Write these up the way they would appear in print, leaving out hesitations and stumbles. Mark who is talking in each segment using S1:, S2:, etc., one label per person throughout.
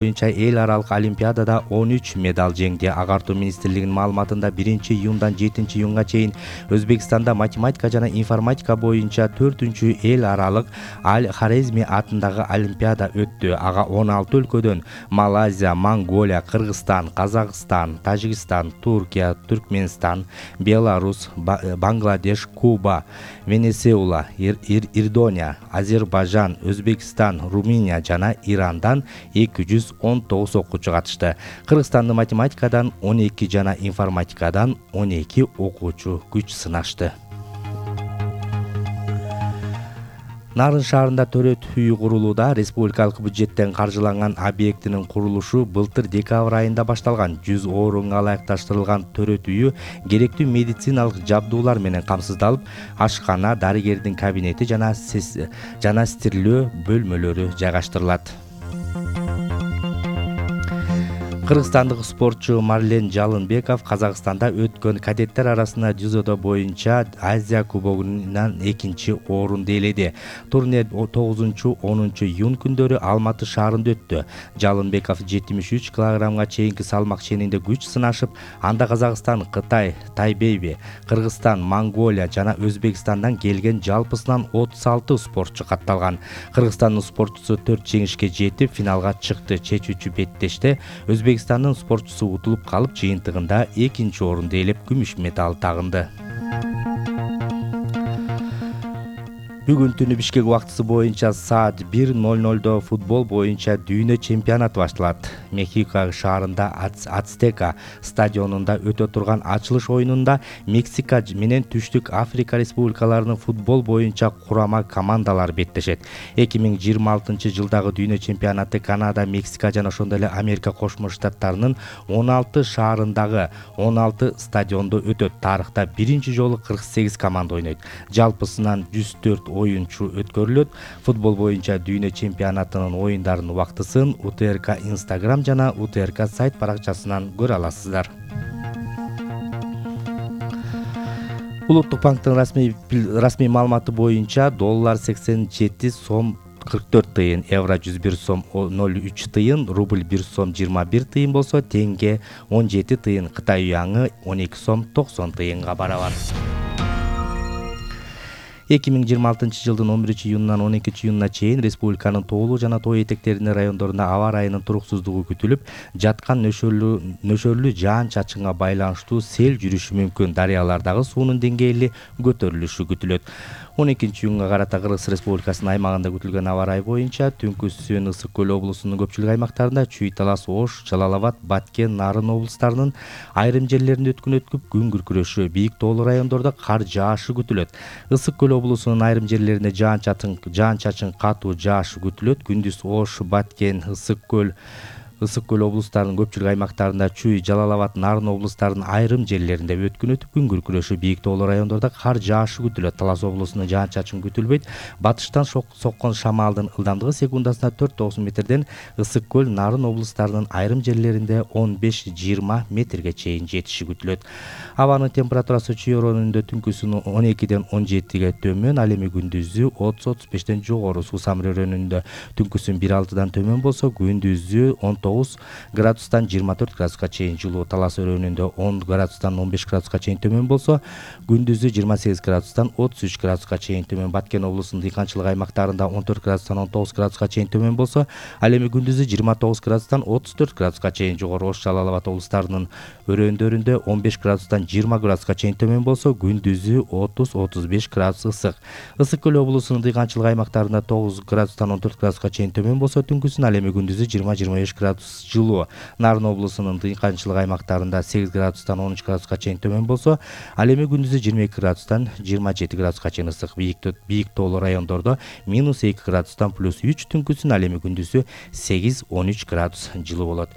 S1: боюнча эл аралык олимпиадада 13 медаль жеңди. Агартуу министрлигинин маалыматында 1-июндан 7-июнга чейин Өзбекстанда математика жана информатика боюнча 4-эл аралык Хорезми атындагы олимпиада өттү. Ага 16 өлкөдөн Малайзия, Монголия, Кыргызстан, Казакстан, Тажикстан, Туркия, Түркмөнстан, Беларусь, Бангладеш, Куба, Венесуэла, Ирдония, Азербайжан, Өзбекстан, Румыния жана Ирандан 219 окуучу катышты. Кыргызстандын математикадан 12 жана информатикадан 12 окуучу күч сынашты. Нарын шаарында төрөт үйү курулууда. Республикалык бюджеттен каржыланган объектинин курулушу былтыр декабрь айында башталган. 100 орунга ылайыкташтырылган төрөт үйү керектүү медициналык жабдуулар менен камсыздалып, ашкана, дарыгердин кабинети жана стирлөө бөлмөлөрү жайгаштырылат. Кыргызстандык спортчу Марлен Жалынбеков Казакстанда өткөн кадеттер арасында дзюдо боюнча Азия кубогунан 2-чи орунду ээледи. Турнир 9-10 июнь күндөрү Алматы шаарында өттү. Жалынбеков 73 килограммга чейинки салмак ченинде күч сынашып, анда Казакстан, Кытай, Тайбэйби, Кыргызстан, Монголия жана Өзбекстандан келген жалпысынан 36 спортчу катталган. Кыргызстандын спортчусу 4 жеңишке жетип, финалга чыкты. Чечүүчү беттеште Өзбекстандын спортчусу утулуп калып, жыйынтыгында 2-чи орунду ээлеп, күмүш медаль тагынды. Бүгүн түнү Бишкек убактысы боюнча саат 1:00 футбол боюнча дүйнө чемпионаты башталат. Мехико шаарында Ацтека стадионунда өтө турган ачылыш оюнунда Мексика менен Түштүк Африка республикаларынын футбол боюнча курама командалары беттешет. 2026-жылдагы дүйнө чемпионаты Канада, Мексика жана ошондой эле Америка Кошмо Штаттарынын 16 шаарындагы 16 стадиондо өтөт. Тарыхта биринчи жолу 48 команда ойнойт. Жалпысынан 104 оюнчу өткөрүлөт. Футбол боюнча дүйнө чемпионатынын оюндарынын убактысын УТРК Instagram жана УТРК сайт баракчасынан көрө аласыздар. Улуттук банктын расмий маалыматы боюнча доллар 87 сом 44 тыйын, евро 101 сом 03 тыйын, рубль 1 сом 21 тыйын болсо, теңге 17 тыйын, Кытай юаны 12 сом 90 тыйынга барабар. 2026-жылдын 11-июнунан 12-июнуна чейин республиканын тоолуу жана тоо этектеринин райондорунда аба ырайынын туруксуздугу күтүлүп, жаткан нөшөрлүү жаан-чачынга байланыштуу сел жүрүшү мүмкүн. Дарыялардагы суунун деңгээли көтөрүлүшү күтүлөт. 12-июнга карата Кыргыз Республикасынын аймагында күтүлгөн аба ырайы боюнча Түнкүсүн, Ысык көл облусунун көпчүлүк аймактарында, Чүй, Талас, Ош, Жалал Абад, Баткен, Нарын облустарынын айрым жерлеринде өткүн күн күркүрөшү, бийик тоолуу райондордо кар жаашы күтүлөт. Ысык көл облусунун айрым жерлеринде жаан-чачын катуу жаашы күтүлөт. Күндүз Ош, Баткен, Ысык көл облустарынын көпчүлүк аймактарында, Чүй, Жалал Абад, Нарын облустарынын айрым жерлеринде өткүн күн күркүрөшү, бийик тоолуу райондордо кар жаашы күтүлөт. Талас облусунда жаан-чачын күтүлбөйт. Батыштан соккон шамалдын ылдамдыгы секундасына 4-9 метрден Ысык көл, Нарын облустарынын айрым жерлеринде 15-20 метрге чейин жетиши күтүлөт. Абанын температурасы Чүй районунда түнкүсүн 12-ден 17-ге төмөн, ал эми күндүзү 30-35ден жогору. Суу Самыр районунда түнкүсүн 1-6-дан төмөн болсо, күндүзү 19 градустан 24 градуска чейин жылуу. Талас өрөөнүндө 10 градустан 15 градуска чейин төмөн болсо, күндүзү 28 градустан 33 градуска чейин төмөн. Баткен облусунун дыйканчылык аймактарында 14 градустан 19 градуска чейин төмөн болсо, ал эми күндүзү 29 градустан 34 градуска чейин жогору. Ош, Жалал Абад облустарынын өрөөндөрүндө 15 градустан 20 градуска чейин төмөн болсо, күндүзү 30-35 градус ысык. Ысык көл облусунун дыйканчылык аймактарында 9 градустан 14 градуска чейин төмөн болсо, түнкүсүн ал эми күндүзү 20-25 градус жылуу. Нарын облусунун дыйканчылык аймактарында 8 градустан 13 градуска чейин төмөн болсо, ал эми күндүзү 22 градустан 27 градуска чейин ысык. Бийик тоолуу райондордо -2 градустан +3, түнкүсүн ал эми күндүзү 8-13 градус жылуу болот.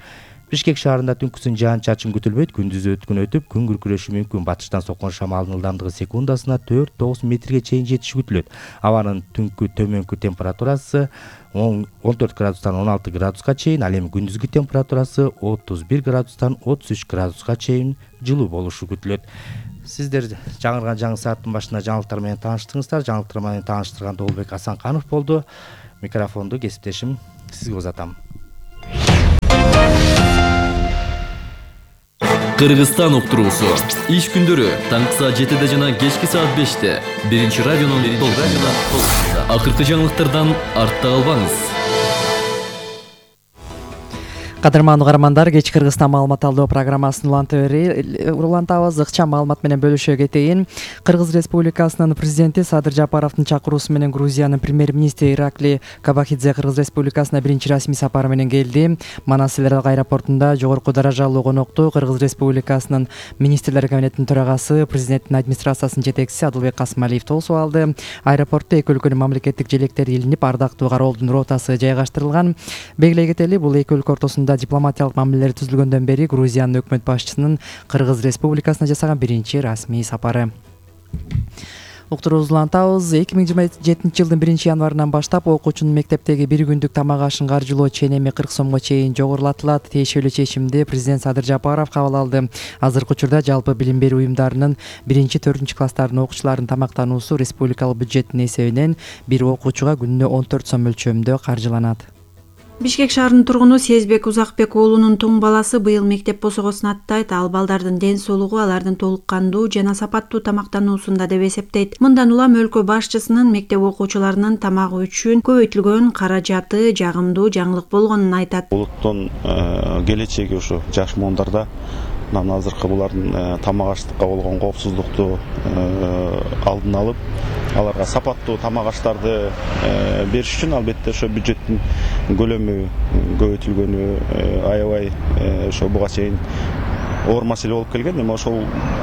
S1: Бишкек шаарында түнкүсүн жаан-чачын күтүлбөйт. Күндүзү өткүн өтүп, күн күркүрөшү мүмкүн. Батыштан соккон шамалдын ылдамдыгы секундасына 4-9 метрге чейин жетиши күтүлөт. Абанын төмөнкү температурасы 14 градустан 16 градуска чейин, ал эми күндүзгү температурасы 31 градустан 33 градуска чейин жылуу болушу күтүлөт. Сиздер жаңырган жаңы сааттын башында жаңылыктар менен тааныштыңыздар. Жаңылыктар менен тааныштырган Долбек Асанканов болду. Микрофонду кесиптешим сизге узатам.
S2: Кыргызстан уктуруусу. Иш күндөрү таңкы саат 7 жана кечки саат 5 биринчи радионун толкунунда. Акыркы жаңылыктардан артта калбаңыз.
S3: Кадырман угармандар, кеч Кыргызстан маалымат алдоо программасын улантабыз. Ыкчам маалымат менен бөлүшө кетейин. Кыргыз Республикасынын президенти Садыр Жапаровдун чакыруусу менен Грузиянын премьер-министри Иракли Кабахидзе Кыргыз Республикасына биринчи расмий сапары менен келди. Манас эл аралык аэропортунда жогорку даражалуу конокту Кыргыз Республикасынын министрлер кабинетинин төрагасы, президенттин администрациясынын жетекчиси Адылбек Касымалиев тосуп алды. Аэропортто эки өлкөнүн мамлекеттик желектери илинип, ардактуу кароолдун ротасы жайгаштырылган. Белгилей кетели, бул эки өлкө ортосунда дипломатиялык мамилелер түзүлгөндөн бери Грузиянын өкмөт башчысынын Кыргыз Республикасына жасаган биринчи расмий сапары. Уктуруубузду улантабыз. 2027 жылдын 1-январынан баштап окуучунун мектептеги бир күндүк тамак ашын каржылоо ченеми 40 сомго чейин жогорулатылат. Тиешелүү чечимди президент Садыр Жапаров кабыл алды. Азыркы учурда жалпы билим берүү уюмдарынын 1-4 класстарынын окуучуларынын тамактануусу республикалык бюджеттин эсебинен бир окуучуга күнүнө 14 сом мөлчөрүндө каржыланат.
S4: Бишкек шаарынын тургуну Сезбек Узакбек уулунун тоң баласы быйыл мектеп босогосун аттайт. Ал балдардын ден соолугу алардын толук кандуу жана сапаттуу тамактануусунда деп эсептейт. Мындан улам өлкө башчысынын мектеп окуучуларынын тамагы үчүн көбөйтүлгөн каражаты жагымдуу жаңылык болгонун айтат.
S5: Улуттун келечеги ушу жаш моондарда мына азыркы булардын тамак аштыкка болгон коопсуздукту алдын алып, аларга сапаттуу тамак аштарды бериш үчүн албетте ошо бюджеттин көлөмү көбөйтүлгөнү аябай ошо буга чейин оор маселе болуп келген. Эми ошол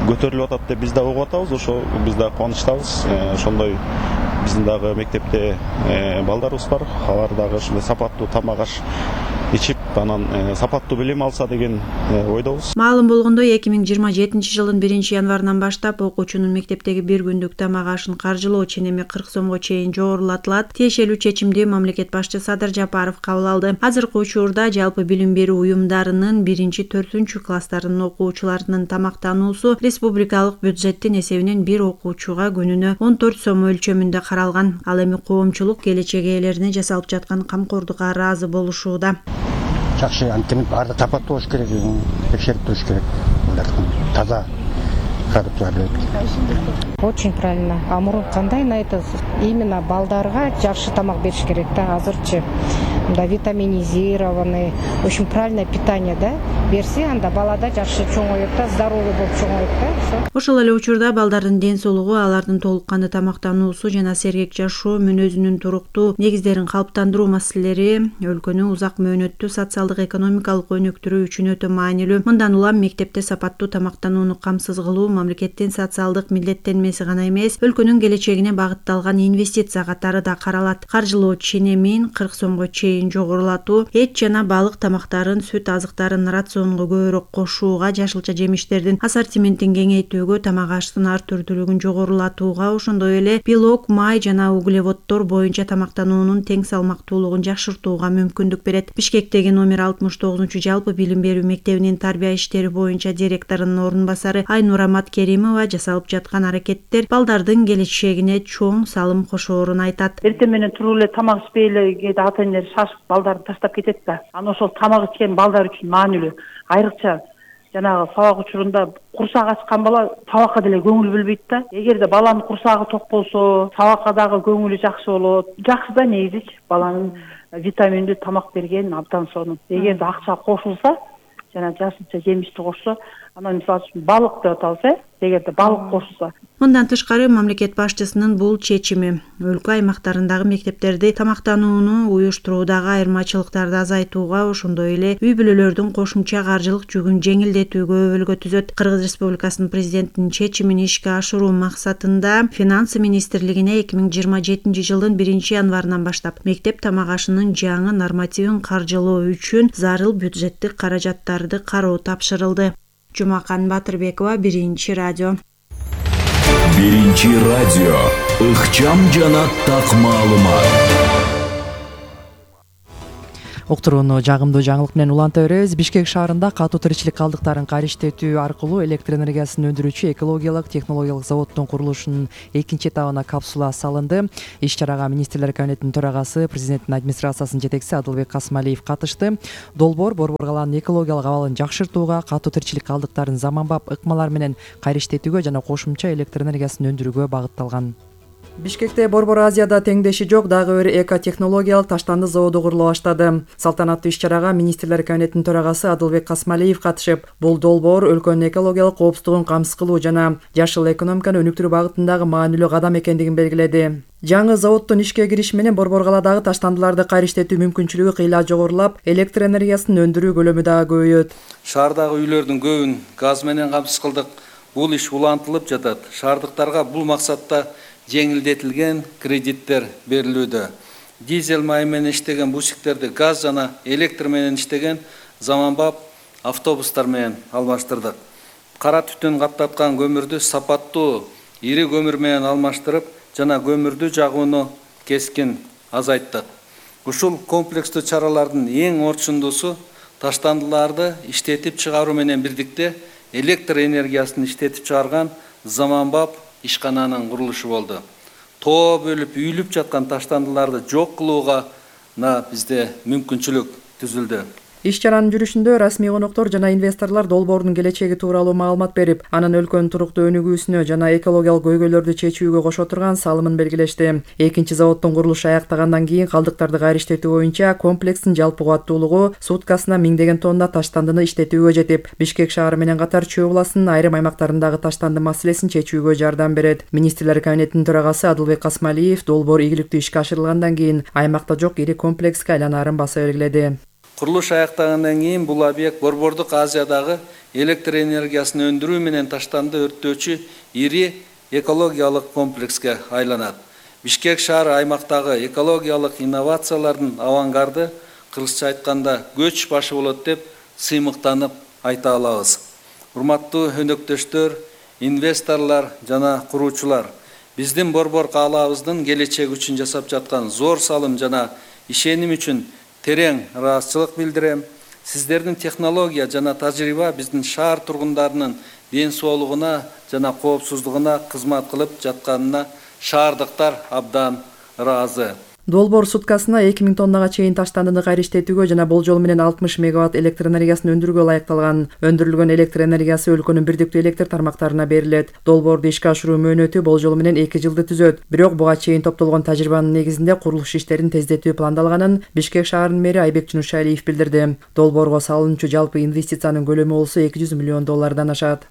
S5: көтөрүлүп атат деп биз да угуп атабыз. Ошо биз да кубанычтабыз. Ошондой биздин дагы мектепте балдарыбыз бар. Алар дагы ушундай сапаттуу тамак аш ичип, анан сапаттуу билим алса деген ойдобуз.
S4: Маалым болгондой, 2027 жылдын 1-январынан баштап окуучунун мектептеги бир күндүк тамак ашын каржылоо ченеми 40 сомго чейин жогорулатылат. Тиешелүү чечимди мамлекет башчысы Садыр Жапаров кабыл алды. Азыркы учурда жалпы билим берүү уюмдарынын 1-4 класстарынын окуучуларынын тамактануусу республикалык бюджеттин эсебинен бир окуучуга күнүнө 14 сом өлчөмүндө каралган. Ал эми коомчулук келечек ээлерине жасалып жаткан камкордукка ыраазы болушууда.
S6: Жакшы, антип баары сапаттуу болуш керек, текшерип туруш керек. Таза продукталарды.
S7: Очень правильно. А мурун кандай айтасыз? Именно балдарга жакшы тамак бериш керек да. Азырчы мында витаминизированный, очень правильное питание, да? Берсе, анда балада жакшы чоңоет да, здоровый болуп чоңоет да.
S4: Ошол эле учурда балдардын ден соолугу, алардын толук кандуу тамактануусу жана сергек жашоо мүнөзүнүн туруктуу негиздерин калыптандыруу маселелери өлкөнү узак мөөнөттүү социалдык экономикалык өнүктүрүү үчүн өтө маанилүү. Мындан улам мектепте сапаттуу тамактанууну камсыз кылуу мамлекеттин социалдык милдеттенмеси гана эмес, өлкөнүн келечегине багытталган инвестиция катары да каралат. Каржылоо ченемин 40 сомго чейин жогорулатуу, эт жана балык тамактарын, сүт азыктарын рационго көбүрөөк кошууга, жашылча жемиштердин ассортиментин кеңейтүүгө, тамак аштын ар түрдүүлүгүн жогорулатууга, ошондой эле белок, май жана углеводдор боюнча тамактануунун тең салмактуулугун жакшыртууга мүмкүндүк берет. Бишкектеги номер 69 жалпы билим берүү мектебинин тарбия иштери боюнча директорунун орун басары Айнура Маткеримова жасалып жаткан аракеттер балдардын келечегине чоң салым кошоорун айтат.
S8: Эртең менен туруп эле тамак ичпей эле кээде ата энелер шашып балдарды таштап кетет да. Анан ошол тамак ичкен балдар үчүн маанилүү. Айрыкча жанагы сабак учурунда курсак ачкан бала сабакка деле көңүл бөлбөйт да. Эгерде баланын курсагы ток болсо, сабакка дагы көңүлү жакшы болот. Жакшы да негизи баланын витаминдүү тамак берген абдан сонун. Эгерде акча кошулса, жана жашылча жемишти кошсо, анан мисалы үчүн балык деп атабыз, эгерде балык кошулса.
S4: Мындан тышкары мамлекет башчысынын бул чечими өлкө аймактарындагы мектептерди тамактанууну уюштуруудагы айырмачылыктарды азайтууга, ошондой эле үй бүлөлөрдүн кошумча каржылык жүгүн жеңилдетүүгө өбөлгө түзөт. Кыргыз Республикасынын президентинин чечимин ишке ашыруу максатында Финансы министрлигине 2027 жылдын 1-январынан баштап мектеп тамак ашынын жаңы нормативин каржылоо үчүн зарыл бюджеттик каражаттарды кароо тапшырылды. Жумакан Батырбекова, 1-радио.
S2: 1-радио. Ыкчам жана так маалымат.
S3: Уктурууну жагымдуу жаңылык менен уланта беребиз. Бишкек шаарында катуу тиричилик калдыктарын кайриштетүү аркылуу электр энергиясын өндүрүүчү экологиялык технологиялык заводдун курулушунун экинчи этабына капсула салынды. Иш-чарага министрлер кабинетинин төрагасы, президенттин администрациясынын жетекчиси Адылбек Касмалиев катышты. Долбоор Борбор калаанын экологиялык абалын жакшыртууга, катуу тиричилик калдыктарын заманбап ыкмалар менен кайриштетүүгө жана кошумча электр энергиясын өндүрүүгө багытталган. Бишкекте Борбор Азияда теңдеши жок дагы бир экотехнологиялык таштанды заводу курулуп баштады. Салтанаттуу иш-чарага министрлер кабинетинин төрагасы Адылбек Касмалиев катышып, бул долбоор өлкөнүн экологиялык коопсуздугун камсыз кылуу жана жашыл экономиканы өнүктүрүү багытындагы маанилүү кадам экендигин белгиледи. Жаңы заводдун ишке кириши менен Борбор калаадагы таштандыларды кайриштетүү мүмкүнчүлүгү кыйла жогорулап, электр энергиясын өндүрүү көлөмү дагы көбөйөт.
S9: Шаардагы үйлөрдүн көбүн газ менен камсыз кылдык. Бул иш улантылып жатат. Шаардыктарга бул максатта жеңилдетилген кредиттер берилүүдө. Дизель май менен иштеген бусиктерди газ жана электр менен иштеген заманбап автобустар менен алмаштырдык. Кара түтүн каптаткан көмүрдү сапаттуу ири көмүр менен алмаштырып, жана көмүрдү жагууну кескин азайттык. Ушул комплекстүү чаралардын эң орчундуусу таштандыларды иштетип чыгаруу менен бирдикте электр энергиясын иштетип чыгарган заманбап ишкананын курулушу болду. Тоо бөлүп үйүлүп жаткан таштандыларды жок кылууга бизде мүмкүнчүлүк түзүлдү.
S3: Иш-чаранын жүрүшүндө расмий коноктор жана инвесторлор долбоордун келечеги тууралуу маалымат берип, анын өлкөнүн туруктуу өнүгүүсүнө жана экологиялык көйгөйлөрдү чечүүгө кошо турган салымын белгилешти. Экинчи заводдун курулушу аяктагандан кийин калдыктарды кайриштетүү боюнча комплекстин жалпы кубаттуулугу суткасына 1000 деген тонна таштандыны иштетүүгө жетип, Бишкек шаары менен катар Чүй областынын айрым аймактарындагы таштанды маселесин чечүүгө жардам берет. Министрлер кабинетинин төрагасы Адылбек Касмалиев долбоор ийгиликтүү ишке ашырылгандан кийин аймакта жок ири комплекске айланаарын баса белгиледи.
S9: Курулуш аяктагандан кийин бул объект Борбордук Азиядагы электр энергиясын өндүрүү менен таштанды өрттөөчү ири экологиялык комплекске айланат. Бишкек шаары аймактагы экологиялык инновациялардын авангарды, кыргызча айтканда көч башы болот деп сыймыктанып айта алабыз. Урматтуу өнөктөштөр, инвесторлор жана куруучулар, биздин Борбор каалаабыздын келечеги үчүн жасап жаткан зор салым жана ишеним үчүн терең ыраазычылык билдирем. Сиздердин технология жана тажрыйба биздин шаар тургундарынын ден соолугуна жана коопсуздугуна кызмат кылып жатканына шаардыктар абдан ыраазы.
S3: Долбоор суткасына 2000 тоннага чейин таштандыны кайриштетүүгө жана болжол менен 60 мегаватт электр энергиясын өндүрүүгө ылайыкталган. Өндүрүлгөн электр энергиясы өлкөнүн бирдиктүү электр тармактарына берилет. Долбоорду ишке ашыруу мөөнөтү болжол менен 2 жылды түзөт. Бирок буга чейин топтолгон тажрыйбанын негизинде курулуш иштерин тездетүү пландалганын Бишкек шаарынын мэри Айбек Жунушалиев билдирди. Долбоорго салынчу жалпы инвестициянын көлөмү болсо 200 миллион доллардан ашат.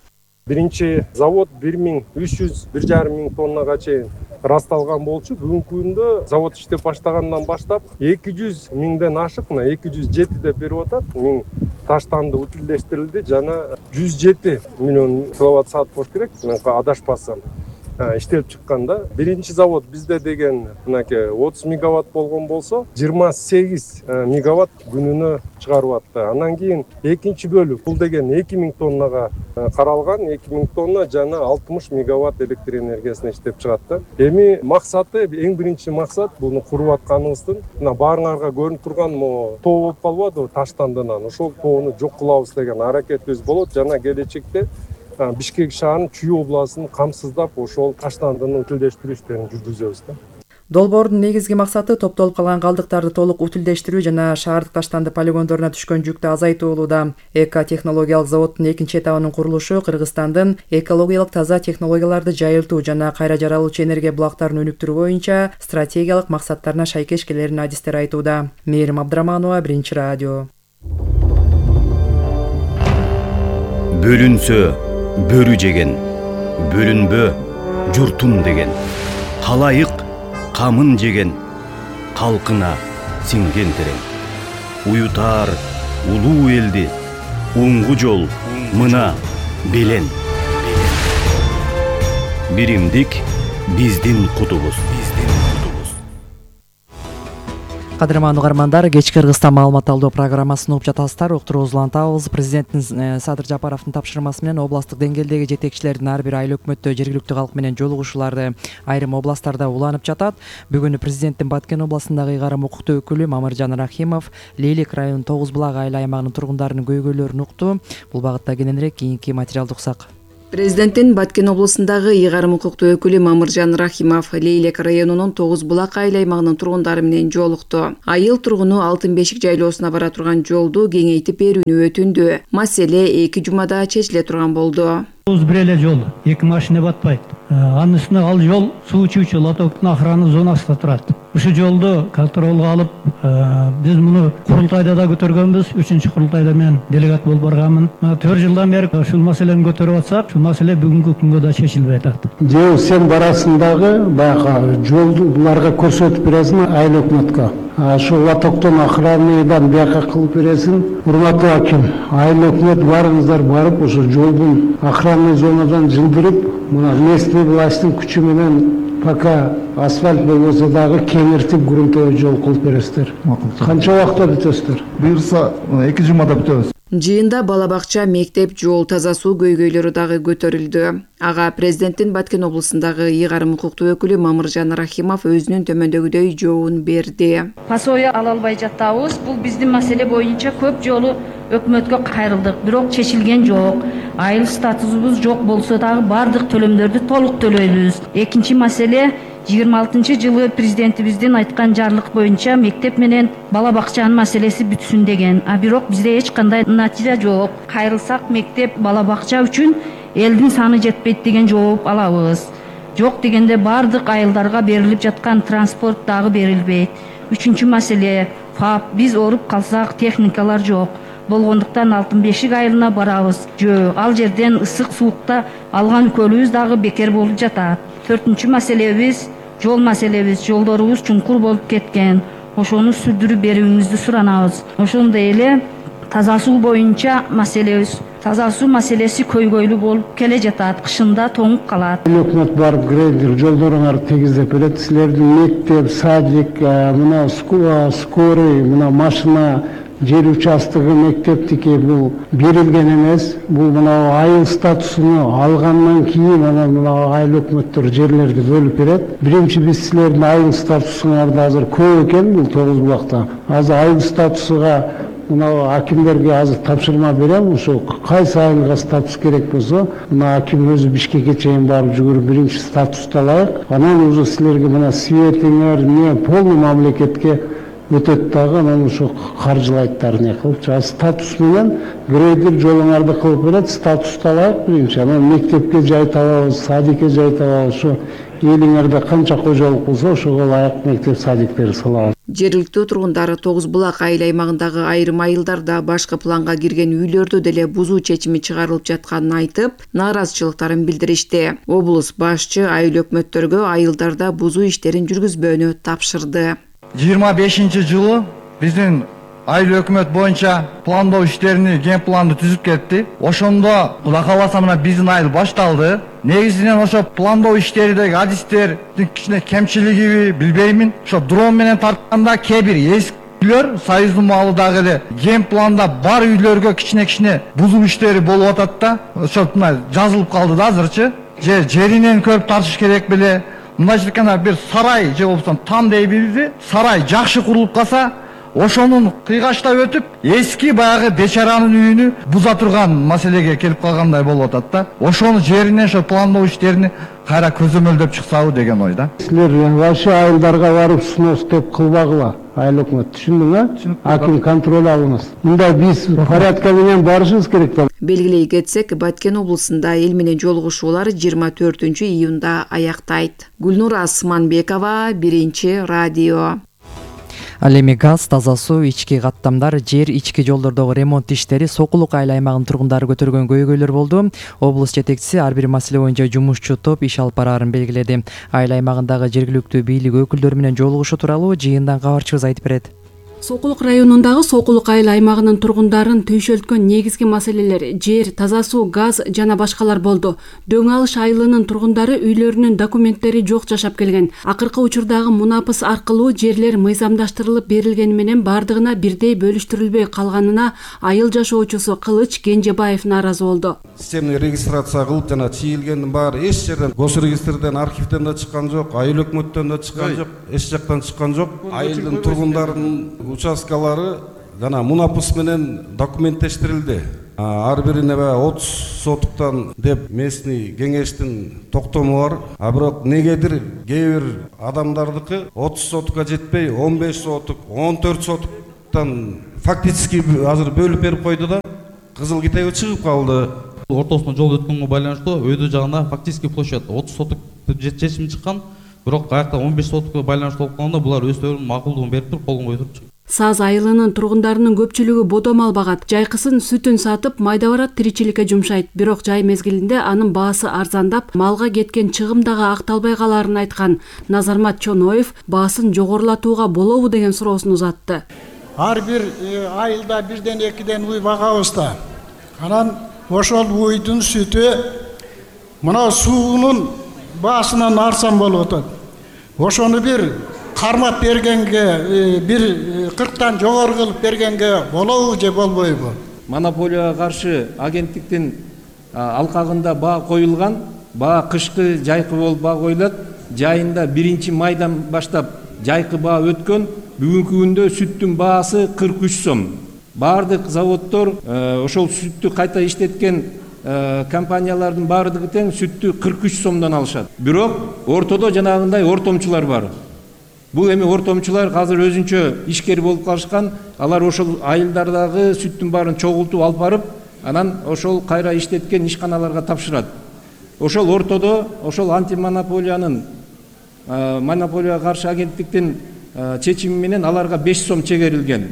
S10: Биринчи завод 1300-1,5 миң тоннага чейин расталган болчу. Бүгүнкү күндө завод иштеп баштагандан баштап 200 миңден ашык, 207 деп берип атат. Миң таштанды утилдештирилди жана 107 миллион киловатт саат болуш керек. Мен адашпасам. Иштелип чыкканда биринчи завод бизде деген 30 мегаватт болгон болсо 28 мегаватт күнүнө чыгарып атты. Андан кийин экинчи бөлүк бул деген 2000 тоннага каралган, 2000 тонна жана 60 мегаватт электр энергиясын иштеп чыгат. Эми максаты, эң биринчи максат буну куруп атканыбыздын баарыңарга көрүнүп турган тоо болуп калбадыбы таштандынан. Ошол тоону жок кылабыз деген аракетибиз болот жана келечекте Бишкек шаарынын Чүй областын камсыздап ошол таштандыны утилдештирүү иштерин жүргүзөбүз.
S3: Долбоордун негизги максаты топтолуп калган калдыктарды толук утилдештирүү жана шаардык таштанды полигондоруна түшкөн жүктү азайтуу болууда. Эко-технологиялык заводдун экинчи этабынын курулушу Кыргызстандын экологиялык таза технологияларды жайылтуу жана кайра жаралуучу энергия булактарын өнүктүрүү боюнча стратегиялык максаттарына шайкеш келерин адистер айтууда. Мээрим Абдыраманова, Биринчи радио.
S11: Бөлүнсө бөрү жеген, бөлүнбө журтум деген, халайык камын жеген, калкына сиңген терең. Уютар улуу элди, уңгу жол мына белен. Биримдик биздин кутубуз.
S3: Кадырман угармандар, кечки Кыргызстан маалымат алуу программасын угуп жатасыздар. Уктурууңузду улантабыз. Президенттин Садыр Жапаровдун тапшырмасы менен областтык деңгээлдеги жетекчилердин ар бир айыл өкмөттө жергиликтүү калк менен жолугушуулары айрым областтарда уланып жатат. Бүгүн президенттин Баткен областындагы ыйгарым укуктуу өкүлү Мамыржан Рахимов Лейлек районунун Тогуз Булак айыл аймагынын тургундарынын көйгөйлөрүн укту. Бул багытта кененирээк кийинки материалды уксак.
S12: Президенттин Баткен областындагы ыйгарым укуктуу өкүлү Мамыржан Рахимов Лейлек районунун Тогуз Булак айыл аймагынын тургундары менен жолукту. Айыл тургуну Алтын Бешик жайлоосуна бара турган жолду кеңейтип берүүнү өтүндү. Маселе 2 жумада чечиле турган болду.
S13: Бир эле жол, 2 машина батпайт. Анын үстүнө ал жол суу ичүүчү лотоктун охрана зонасында турат. Ушул жолду контролго алып, биз муну курултайда да көтөргөнбүз. 3-чү курултайда мен делегат болуп барганмын. 4 жылдан бери ушул маселени көтөрүп атсак, ушул маселе бүгүнкү күнгө да чечилбей атат.
S14: Жөө сен барасындагы баягы жолду буларга көрсөтүп бересиң айыл өкмөткө. Ошол лотоктон охранадан бияка кылып бересиң. Урматтуу аким, айыл өкмөт барыңыздар барып ошол жолдун охранный зонадан жылдырып, мына местный власттын күчү менен пока асфальт болбосо дагы кеңиртип грунтовый жол кылып бересиздер. Канча убакытта бүтөсүздөр?
S15: Буюрса 2 жумада бүтөбүз.
S12: Жыйында бала бакча, мектеп, жол, таза суу көйгөйлөрү дагы көтөрүлдү. Ага президенттин Баткен областындагы ыйгарым укуктуу өкүлү Мамыржан Рахимов өзүнүн төмөндөгүдөй жообун берди.
S16: Пасоя ала албай жатабыз. Бул биздин маселе боюнча көп жолу өкмөткө кайрылдык, бирок чечилген жок. Айыл статусубуз жок болсо дагы бардык төлөмдөрдү толук төлөйбүз. Экинчи маселе 26-жылы президентибиздин айткан жарлык боюнча мектеп менен бала бакчанын маселеси бүтсүн деген. А бирок бизде эч кандай натыйжа жок. Кайрылсак мектеп, бала бакча үчүн элдин саны жетпейт деген жооп алабыз. Жок дегенде бардык айылдарга берилип жаткан транспорт дагы берилбейт. 3-чү маселе ФАП. Биз ооруп калсак техникалар жок. Болгондуктан Алтын Бешик айылына барабыз. Ал жерден ысык суукта алган көлүбүз дагы бекер болуп жатат. 4-чү маселебиз жол маселебиз. Жолдорубуз чуңкур болуп кеткен. Ошону сүрдүрүп берүүңүздү суранабыз. Ошондой эле таза суу боюнча маселебиз. Таза суу маселеси көйгөйлүү болуп келе жатат. Кышында тоңуп калат.
S14: Өкмөт барып грейдер жолдоруңарды тегиздеп берет. Силердин мектеп, садик, мына скорый, мына машина жер участогы мектептики бул берилген эмес. Бул мына айыл статусуну алгандан кийин мына айыл өкмөттөр жерлерди бөлүп берет. Биринчи биз силердин айыл статусуңарды азыр көп экен бул Тогуз Булакта. Азыр айыл статусуга мына акимдерге азыр тапшырма берем. Ошо кайсы айылга статус керек болсо, мына аким өзү Бишкекке чейин барып жүгүрүп биринчи статусту алайык. Анан уже силерге мына светиңер, не полный мамлекетке өтөт дагы, анан ошо каржылайттар не кылып, статус менен грейдер жолуңарды кылып берет, статусту алайык биринчи, анан мектепке жай табабыз, садикке жай табабыз, ошо элиңерде канча кожолук болсо ошого ылайык мектеп садиктерди салабыз.
S12: Жергиликтүү тургундары Тогуз Булак айыл аймагындагы айрым айылдарда башкы планга кирген үйлөрдө деле бузуу чечими чыгарылып жатканын айтып, нааразычылыктарын билдиришти. Облус башчы айыл өкмөттөргө айылдарда бузуу иштерин жүргүзбөөнү тапшырды.
S13: 25-жылы биздин айыл өкмөт боюнча пландоо иштерини, ген планды түзүп кетти. Ошондо Кудай кааласа мына биздин айыл башталды. Негизинен ошо пландоо иштеридеги адистердин кичине кемчилиги билбеймин. Ошо дрон менен тартканда кээ бир эски үйлөр союздун маалыдагы эле ген планда бар үйлөргө кичине бузуу иштери болуп атат да. Ошо жазылып калды да азырчы. Жеринен көрүп тартыш керек беле. Мындайча айтканда бир сарай же болбосо там дейбиз, сарай жакшы курулуп калса, ошонун кыйгаштап өтүп, эски баягы бечаранын үйүнү буза турган маселеге келип калгандай болуп атат да. Ошону жеринен ошо пландоо иштерини кайра көзөмөлдөп чыксабы деген ой да.
S14: Силер вообще айылдарга барып снос деп кылбагыла, айыл өкмөт, түшүндүңбү? Аким контроль алыңыз. Мында биз порядка менен барышыбыз керек да.
S12: Белгилей кетсек, Баткен облусунда эл менен жолугушуулар 24-июнда аяктайт. Гүлнура Асманбекова, Биринчи радио.
S3: Ал эми газ, таза суу, ички каттамдар, жер, ички жолдордогу ремонт иштери Сокулук айыл аймагынын тургундары көтөргөн көйгөйлөр болду. Облус жетекчиси ар бир маселе боюнча жумушчу топ иш алып бараарын белгиледи. Айыл аймагындагы жергиликтүү бийлик өкүлдөрү менен жолугушуу тууралуу жыйындан кабарчыбыз айтып берет.
S12: Сокулук районундагы Сокулук айыл аймагынын тургундарын түйшөлткөн негизги маселелер жер, таза суу, газ жана башкалар болду. Дөң алыш айылынын тургундары үйлөрүнүн документтери жок жашап келген. Акыркы учурдагы мунапыс аркылуу жерлер мыйзамдаштырылып берилгени менен бардыгына бирдей бөлүштүрүлбөй калганына айыл жашоочусу Кылыч Кенжебаев нааразы болду.
S17: Системный регистрация кылып жана чийилгендин баары эч жерден госрегистрден, архивден да чыккан жок, айыл өкмөттөн да чыккан жок, эч жактан чыккан жок. Айылдын тургундарынын участкалары жана мунапыс менен документтештирилди. Ар бирине 30 сотуктан деп местный кеңештин токтому бар. Бирок негедир кээ бир адамдардыкы 30 сотукка жетпей 15 сотук, 14 сотуктан фактически азыр бөлүп берип койду да кызыл китеби чыгып калды.
S18: Ортосунан жол өткөнгө байланыштуу өйдө жагына фактически площадь 30 сотук чечим чыккан. Бирок аякта 15 сотукка байланыштуу болуп калганда булар өздөрүнүн макулдугун берип туруп колдон кое турчу.
S12: Саз айылынын тургундарынын көпчүлүгү бодом албагат, жайкысын сүтүн сатып майда барат тиричиликке жумшайт. Бирок жай мезгилинде анын баасы арзандап, малга кеткен чыгым дагы акталбай каларын айткан Назармат Чоноев баасын жогорулатууга болобу деген суроосун узатты.
S19: Ар бир айылда бирден экиден уй багабыз да. Анан ошол уйдун сүтү мына суунун баасынан арзан болуп атат. Ошону бир кармап бергенге, бир 40тан жогору кылып бергенге болобу же болбойбу?
S20: Монополияга каршы агенттиктин алкагында баа коюлган, баа кышкы жайкы болуп баа коюлат. Жайында 1-майдан баштап жайкы баа өткөн. Бүгүнкү күндө сүттүн баасы 43 сом. Бардык заводдор ошол сүттү кайта иштеткен компаниялардын бардыгы тең сүттү 43 сомдон алышат. Бирок ортодо жанагындай ортомчулар бар. Бул эми ортомчулар азыр өзүнчө ишкер болуп калышкан. Алар ошол айылдардагы сүттүн баарын чогултуп алып барып, анан ошол кайра иштеткен ишканаларга тапшырат. Ошол ортодо ошол антимонополиянын монополияга каршы агенттиктин чечими менен аларга 5 сом чегерилген.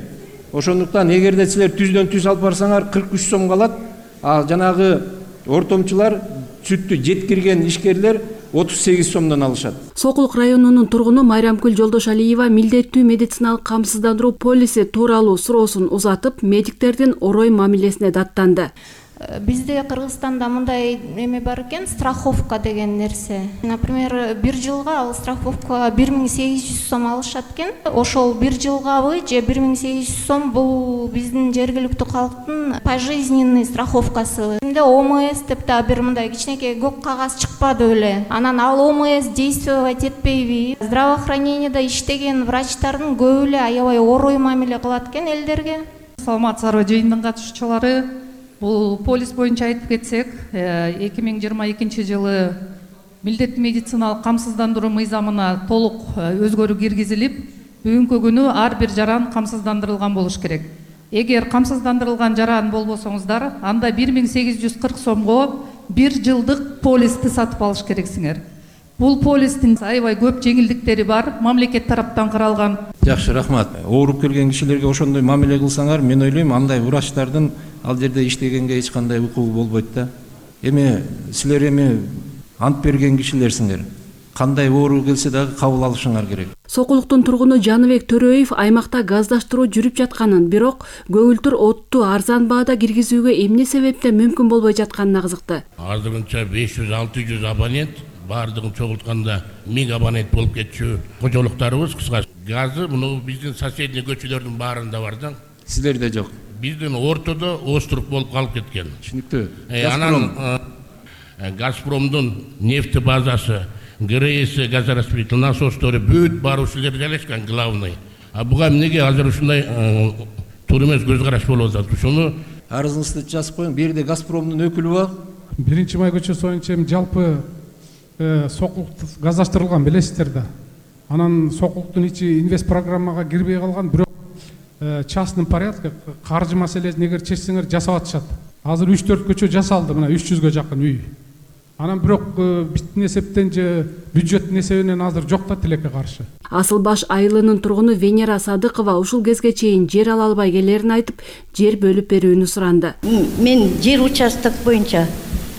S20: Ошондуктан эгерде силер түздөн түз алып барсаңар 43 сом калат. А жанагы ортомчулар сүттү жеткирген ишкерлер 38 сомдон алышат.
S12: Сокулук районунун тургуну Майрамкүл Жолдошалиева милдеттүү медициналык камсыздандыруу полиси тууралуу суроосун узатып, медиктердин орой мамилесине даттанды.
S21: Бизде Кыргызстанда мындай эме бар экен, страховка деген нерсе. Например, бир жылга ал страховка 1800 сом алышат экен. Ошол бир жылгабы же 1800 сом бул биздин жергиликтүү калктын пожизненный страховкасы. Эмне ОМС деп да бир мындай кичинекей көк кагаз чыкпады беле. Анан ал ОМС действовать этпейби. Здравоохранениеде иштеген врачтардын көбү эле аябай орой мамиле кылат экен элдерге.
S22: Саламатсыздарбы жыйындын катышуучулары? Бул полис боюнча айтып кетсек, 2022 жылы милдеттүү медициналык камсыздандыруу мыйзамына толук өзгөрүү киргизилип, бүгүнкү күнү ар бир жаран камсыздандырылган болуш керек. Эгер камсыздандырылган жаран болбосоңуздар, анда 1840 сомго бир жылдык полисти сатып алыш керексиңер. Бул полистин аябай көп жеңилдиктери бар, мамлекет тараптан каралган.
S20: Жакшы, рахмат. Ооруп келген кишилерге ошондой мамиле кылсаңар, мен ойлойм, андай врачтардын ал жерде иштегенге эч кандай укугу болбойт да. Эми силер ант берген кишилерсиңер. Кандай оору келсе дагы кабыл алышыңар керек.
S12: Сокулуктун тургуну Жаныбек Төрөев аймакта газдаштыруу жүрүп жатканын, бирок көгүлтүр отту арзан баада киргизүүгө эмне себептен мүмкүн болбой жатканына кызыкты.
S23: Азырынча 500-600 абонент, бардыгын чогултканда 1000 абонент болуп кетчү кожолуктарыбыз кыскасы. Газы муну биздин соседний көчөлөрдүн баарында бар да.
S20: Силерде жок.
S23: Биздин ортодо острук болуп калып кеткен.
S20: Түшүнүктүү.
S23: Анан Газпромдун нефти базасы, ГРС газораспределительный насостор бүт баары ушул жерде жайлашкан главный. А буга эмнеге азыр ушундай туура эмес көз караш болуп атат? Ушуну
S20: арызыңызды жазып коюң. Бирде Газпромдун өкүлү бар.
S24: 1-май көчөсү боюнча жалпы Сокулук газдаштырылган, билесиздер да. Анан Сокулуктун ичи инвест программага кирбей калган, бирок частный порядка каржы маселесин эгер чечсеңер жасап атышат. Азыр 3-4 көчө жасалды, мына 300гө жакын үй. Анан бирок биздин эсептен же бюджеттин эсебинен азыр жок да тилекке каршы.
S12: Асылбаш айылынын тургуну Венера Садыкова ушул кезге чейин жер ала албай келерин айтып, жер бөлүп берүүнү суранды.
S25: Мен жер участок боюнча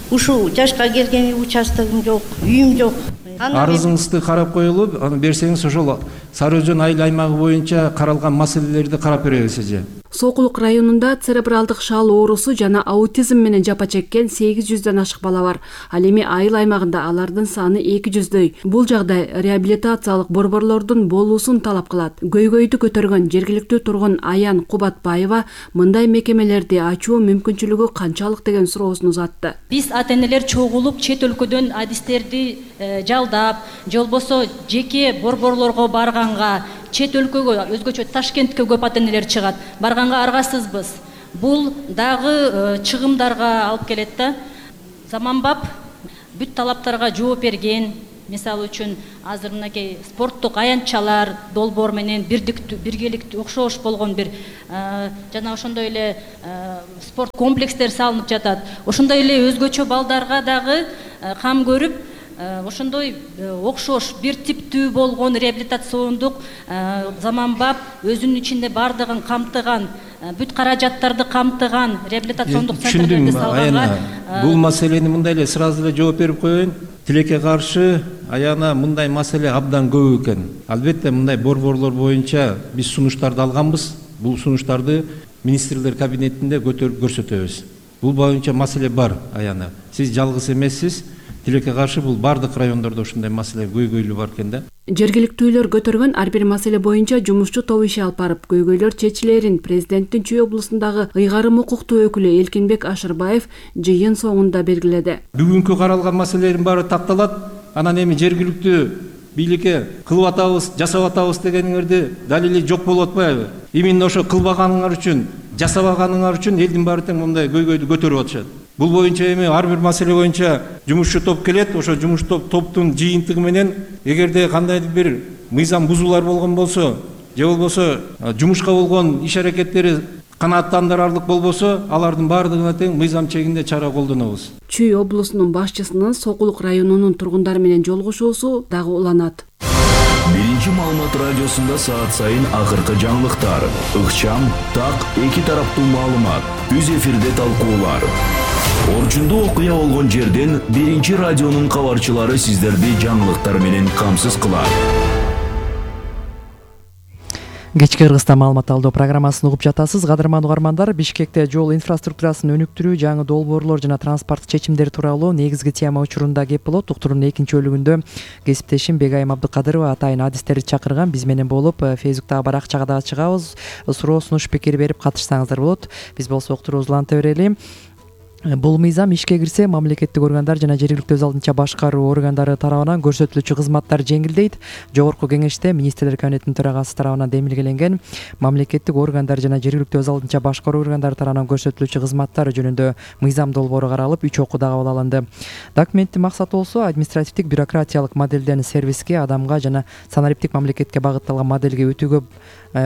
S25: ушул жашка келген участогум жок, үйүм жок.
S20: арызыңызды карап коелуп, аны берсеңиз ошол Сары Өзөн айыл аймагы боюнча каралган маселелерди карап беребиз эже.
S12: Сокулук районунда церебралдык шал оорусу жана аутизм менен жапа чеккен 800дөн ашык бала бар. Ал эми айыл аймагында алардын саны 200дөй. Бул жагдай реабилитациялык борборлордун болуусун талап кылат. Көйгөйдү көтөргөн жергиликтүү тургун Аян Кубатбаева мындай мекемелерди ачуу мүмкүнчүлүгү канчалык деген суроосун узатты.
S1: Биз ата-энелер чогулуп чет өлкөдөн адистерди жалдап, же болбосо жеке борборлорго барганга, чет өлкөгө, өзгөчө Ташкентке көп ата-энелер чыгат. Барганга аргасызбыз. Бул дагы чыгымдарга алып келет да. Заманбап бүт талаптарга жооп берген. Мисалы үчүн азыр мынакей спорттук аянтчалар долбоор менен биргеликтүү окшош болгон бир жана ошондой эле спорт комплекстер салынып жатат. Ошондой эле өзгөчө балдарга дагы кам көрүп, ошондой окшош бир типтүү болгон реабилитациондук заманбап өзүнүн ичинде бардыгын камтыган, бүт каражаттарды камтыган реабилитациондук центрлерди салганга
S20: бул маселени мындай эле сразу эле жооп берип коеюн. Тилекке каршы Аяна мындай маселе абдан көп экен. Албетте мындай борборлор боюнча биз сунуштарды алганбыз. Бул сунуштарды министрлер кабинетинде көтөрүп көрсөтөбүз. Бул боюнча маселе бар, Аяна. Сиз жалгыз эмессиз. Тилекке каршы бул бардык райондордо ушундай маселе көйгөйлүү бар экен да.
S12: Жергиликтүүлөр көтөргөн ар бир маселе боюнча жумушчу топ иш алып барып, көйгөйлөр чечилерин президенттин Чүй облусундагы ыйгарым укуктуу өкүлү Элкинбек Ашырбаев жыйын соңунда белгиледи.
S20: Бүгүнкү каралган маселелердин баары такталат. Анан эми жергиликтүү бийликке кылып атабыз, жасап атабыз дегениңерди далили жок болуп атпайбы? Именно ошо кылбаганыңар үчүн, жасабаганыңар үчүн элдин баары тең мындай көйгөйдү көтөрүп атышат. Бул боюнча эми ар бир маселе боюнча жумушчу топ келет. Ошо жумушчу топтун жыйынтыгы менен эгерде кандайдыр бир мыйзам бузуулар болгон болсо, же болбосо жумушка болгон иш аракеттери канааттандырарлык болбосо, алардын баардыгына тең мыйзам чегинде чара колдонобуз.
S12: Чүй облусунун башчысынын Сокулук районунун тургундары менен жолугушуусу дагы уланат.
S11: Биринчи маалымат радиосунда саат сайын акыркы жаңылыктар, ыкчам, так, эки тараптуу маалымат, үз эфирде талкуулар. Орчундуу окуя болгон жерден Биринчи радионун кабарчылары сиздерди жаңылыктар менен камсыз кылат.
S3: Кечки Кыргызстан маалымат алдоо программасын угуп жатасыз. Кадырман угармандар, Бишкекте жол инфраструктурасын өнүктүрүү, жаңы долбоорлор жана транспорт чечимдери тууралуу негизги тема учурунда кеп болот. Уктуруунун экинчи бөлүгүндө кесиптешим Бегайым Абдыкадырова атайын адистерди чакырган. Биз менен болуп, Фейсбуктагы баракчага дагы чыгабыз. Суроо, сунуш, пикир берип катышсаңыздар болот. Биз болсо уктуруубузду уланта берели. Бул мыйзам ишке кирсе, мамлекеттик органдар жана жергиликтүү өз алдынча башкаруу органдары тарабынан көрсөтүлүүчү кызматтар жеңилдейт. Жогорку кеңеште министрлер кабинетинин төрагасы тарабынан демилгеленген мамлекеттик органдар жана жергиликтүү өз алдынча башкаруу органдары тарабынан көрсөтүлүүчү кызматтар жөнүндө мыйзам долбоору каралып, 3 окууда кабыл алынды. Документтин максаты болсо административдик бюрократиялык моделден сервиске, адамга жана санариптик мамлекетке багытталган модельге өтүүгө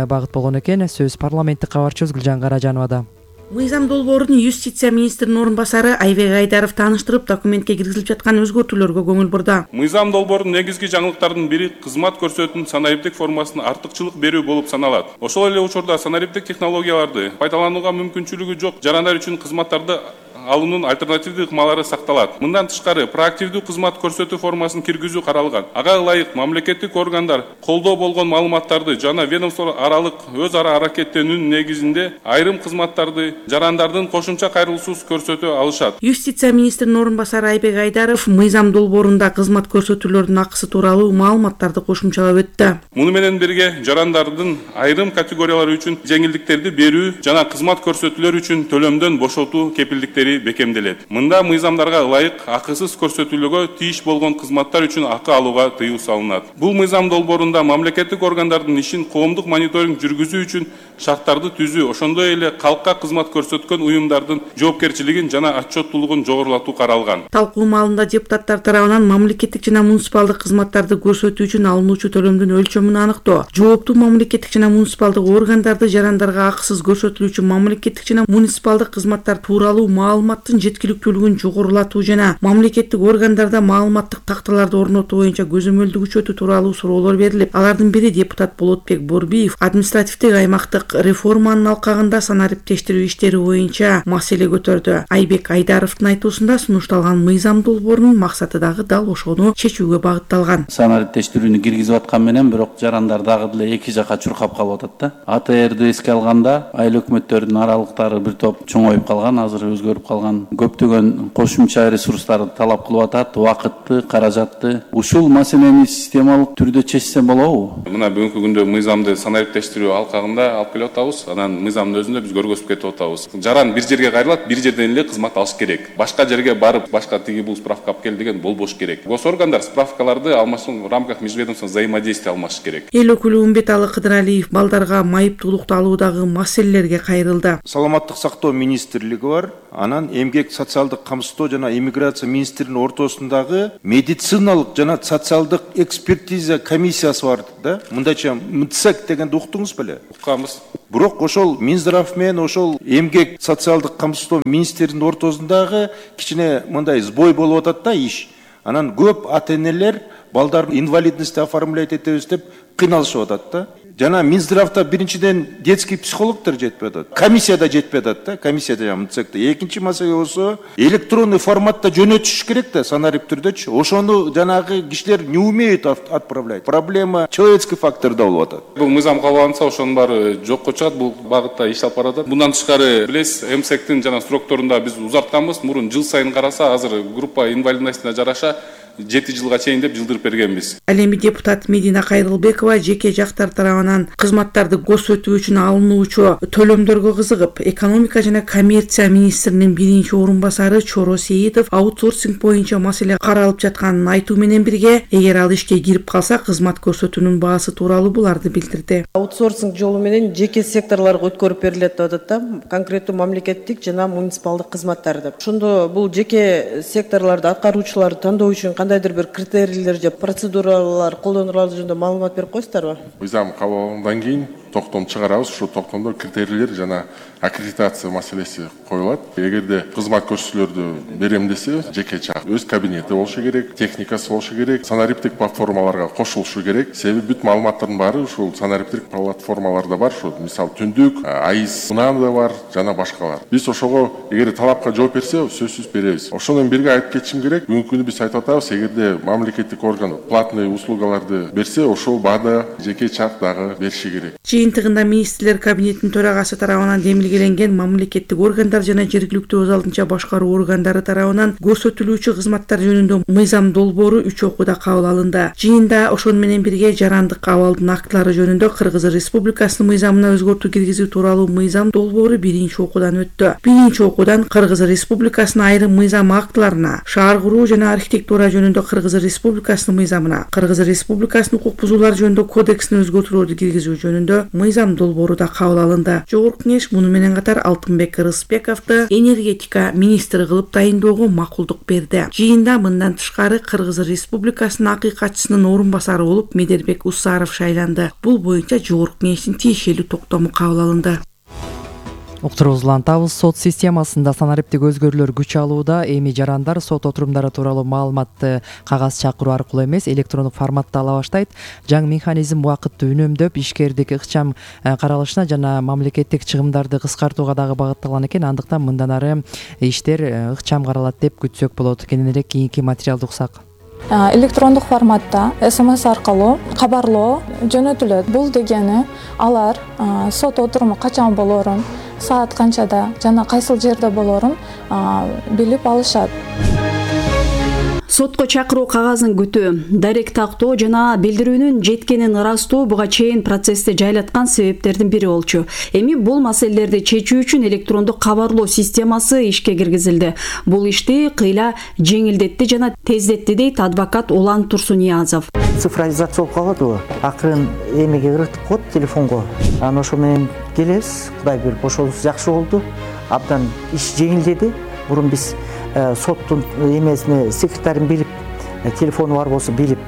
S3: багыт болгон экен. Сөз парламенттик кабарчыбыз Гүлжан Каражановада.
S5: Мыйзам долбоорун юстиция министринин орун басары Айбек Айдаров тааныштырып, документке киргизилип жаткан өзгөртүүлөргө көңүл бурду.
S6: Мыйзам долбоорунун негизги жаңылыктарынын бири кызмат көрсөтүүнүн санариптик формасына артыкчылык берүү болуп саналат. Ошол эле учурда санариптик технологияларды пайдаланууга мүмкүнчүлүгү жок жарандар үчүн кызматтарды алуунун альтернативдүү ыкмалары сакталат. Мындан тышкары проактивдүү кызмат көрсөтүү формасын киргизүү каралган. Ага ылайык мамлекеттик органдар колдоо болгон маалыматтарды жана ведомство аралык өз ара аракеттенүүнүн негизинде айрым кызматтарды жарандардын кошумча кайрылуусуз көрсөтө алышат.
S5: Юстиция министринин орун басары Айбек Айдаров мыйзам долбоорунда кызмат көрсөтүүлөрдүн акысы тууралуу маалыматтарды кошумчалап өттү.
S6: Муну менен бирге жарандардын айрым категориялары үчүн жеңилдиктерди берүү жана кызмат көрсөтүүлөр үчүн төлөмдөн бошотуу кепилдиктери бекемделет. Мында мыйзамдарга ылайык акысыз көрсөтүүлөргө тийиш болгон кызматтар үчүн акы алууга тыюу салынат. Бул мыйзам долбоорунда мамлекеттик органдардын ишин коомдук мониторинг жүргүзүү үчүн шарттарды түзүү, ошондой эле калкка кызмат көрсөткөн уюмдардын жоопкерчилигин жана отчеттуулугун жогорулатуу каралган.
S5: Талкуу маалында депутаттар тарабынан мамлекеттик жана муниципалдык кызматтарды көрсөтүү үчүн алынуучу төлөмдүн өлчөмүн аныктоо, жооптуу мамлекеттик жана муниципалдык органдарды жарандарга акысыз көрсөтүлүүчү мамлекеттик жана муниципалдык кызматтар тууралуу маалымат маалыматтын жеткиликтүүлүгүн жогорулатуу жана мамлекеттик органдарда маалыматтык такталарды орнотуу боюнча көзөмөлдү күчөтүү тууралуу суроолор берилип, алардын бири депутат Болотбек Борбиев административдик аймактык реформанын алкагында санариптештирүү иштери боюнча маселе көтөрдү. Айбек Айдаровдун айтуусунда сунушталган мыйзам долбоорунун максаты дагы дал ошону чечүүгө багытталган.
S2: Санариптештирүүнү киргизип аткан менен бирок жарандар дагы деле эки жакка чуркап калып атат да. АТРди эске алганда айыл өкмөттөрдүн аралыктары бир топ чоңоюп калган, азыр өзгөрүп калган, көптөгөн кошумча ресурстарды талап кылып атат, убакытты, каражатты. Ушул маселени системалык түрдө чечсе болобу?
S6: Мына бүгүнкү күндө мыйзамды санариптештирүү алкагында алып келип атабыз. Анан мыйзамдын өзүндө биз көргөзүп кетип атабыз. Жаран бир жерге кайрылат, бир жерден эле кызмат алыш керек. Башка жерге барып, башка тиги бул справка алып кел деген болбош керек. Госоргандар справкаларды алмашуу в рамках межведомственного взаимодействия алмаш керек.
S5: Эл өкүлү Умбеталы Кыдыралиев балдарга майыптуулукту алуудагы маселелерге кайрылды.
S4: Саламаттык сактоо министрлиги бар, анан эмгек социалдык камсыздоо жана иммиграция министринин ортосундагы медициналык жана социалдык экспертиза комиссиясы бар да. Мындайча МЦЭК дегенди уктуңуз беле?
S6: Укканбыз.
S4: Бирок ошол Минздрав менен ошол эмгек социалдык камсыздоо министринин ортосундагы кичине мындай сбой болуп атат да иш. Анан көп ата-энелер балдарын инвалидности оформлять этебиз деп кыйналышып атат да. Жана Минздравда биринчиден детский психологдор жетпей атат. Комиссияда жетпей атат да, комиссияда МЦЭКте. Экинчи маселе болсо электронный форматта жөнөтүш керек да, санарип түрдөчү. Ошону жанагы кишилер не умеют отправлять. Проблема человеческий факторда болуп атат.
S6: Бул мыйзам кабыл ошонун баары жокко чыгат, бул багытта иш алып баратат. Мындан тышкары билесиз, МЦЭКтин жана срокторунда биз узартканбыз. Мурун жыл сайын караса, азыр группа инвалидностуна жараша 7 жылга чейин деп жылдырып бергенбиз.
S5: Ал эми депутат Медина Кайрылбекова жеке жактар тарабынан кызматтарды көрсөтүү үчүн алынуучу төлөмдөргө кызыгып, экономика жана коммерция министринин биринчи орун басары Чоро Сейитов аутсорсинг боюнча маселе каралып жатканын айтуу менен бирге, эгер ал ишке кирип калса кызмат көрсөтүүнүн баасы тууралуу буларды билдирди.
S7: Аутсорсинг жолу менен жеке секторлорго өткөрүп берилет деп атат да, конкреттүү мамлекеттик жана муниципалдык кызматтар деп. Ошондо бул жеке секторлорду аткаруучуларды тандоо үчүн кандайдыр бир критерийлер же процедуралар колдонулары жөнүндө маалымат берип коесуздарбы?
S8: Мыйзам кабыл алынгандан кийин токтом чыгарабыз. Ушул токтомдо критерийлер жана аккредитация маселеси коюлат. Эгерде кызмат көрсөтүүлөрдү берем десе, жеке чак өз кабинети болушу керек, техникасы болушу керек, санариптик платформаларга кошулушу керек. Себеби бүт маалыматтардын баары ушул санариптик платформаларда бар. Ушул мисалы түндүк, айыз, мунада бар жана башкалар. Биз ошого эгер талапка жооп берсе, сөзсүз беребиз. Ошону бирге айтып кетишим керек. Бүгүнкү күнү биз айтып атабыз, эгерде мамлекеттик орган платный услугаларды берсе, ошол баада жеке чак дагы бериши керек.
S5: Жыйынтыгында министрлер кабинетинин төрагасы тарабынан демилгеленген мамлекеттик органдар жана жергиликтүү өз алдынча башкаруу органдары тарабынан көрсөтүлүүчү кызматтар жөнүндө мыйзам долбоору 3 окууда кабыл алынды. Жыйында ошону менен бирге жарандык абалдын актылары жөнүндө Кыргыз Республикасынын мыйзамына өзгөртүү киргизүү тууралуу мыйзам долбоору биринчи окуудан өттү. Биринчи окуудан Кыргыз Республикасынын айрым мыйзам актыларына, шаар куруу жана архитектура жөнүндө Кыргыз Республикасынын мыйзамына, Кыргыз Республикасынын укук бузуулар жөнүндө кодексине өзгөртүүлөрдү киргизүү жөнүндө мыйзам долбоору да кабыл алынды. Жогорку кеңеш муну менен катар Алтынбек Рысбековду энергетика министри кылып тайындоого макулдук берди. Жыйында мындан тышкары Кыргыз Республикасынын акыйкатчысынын орун басары болуп Медербек Усаров шайланды. Бул боюнча жогорку кеңештин тиешелүү токтому кабыл алынды.
S3: Уктурубузду улантабыз. Сот системасында санариптик өзгөрүүлөр күч алууда. Эми жарандар сот отурумдары тууралуу маалыматты кагаз чакыруу аркылуу эмес, электрондук форматта ала баштайт. Жаңы механизм убакытты үнөмдөп, ишкердик ыкчам каралышына жана мамлекеттик чыгымдарды кыскартууга дагы багытталган экен. Андыктан мындан ары иштер ыкчам каралат деп күтсөк болот. Кененирээк кийинки материалды уксак.
S25: Электрондук форматта СМС аркылуу кабарлоо жөнөтүлөт. Бул дегени алар сот отуруму качан болоорун, саат канчада жана кайсыл жерде болоорун билип алышат.
S26: Сотко чакыруу кагазын күтүү, дарек тактоо жана билдирүүнүн жеткенин ырастоо буга чейин процессти жайлаткан себептердин бири болчу. Эми бул маселелерди чечүү үчүн электрондук кабарлоо системасы ишке киргизилди. Бул ишти кыйла жеңилдетти жана тездетти дейт адвокат Улан Турсуниязов.
S27: Цифровизация болуп калат, акырын эмеге ыргытып коет телефонго. Анан ошо менен келебиз, Кудай берип ошонусу жакшы болду. Абдан иш жеңилдеди. Мурун биз соттун эмесине секретарин билип, телефону бар болсо билип,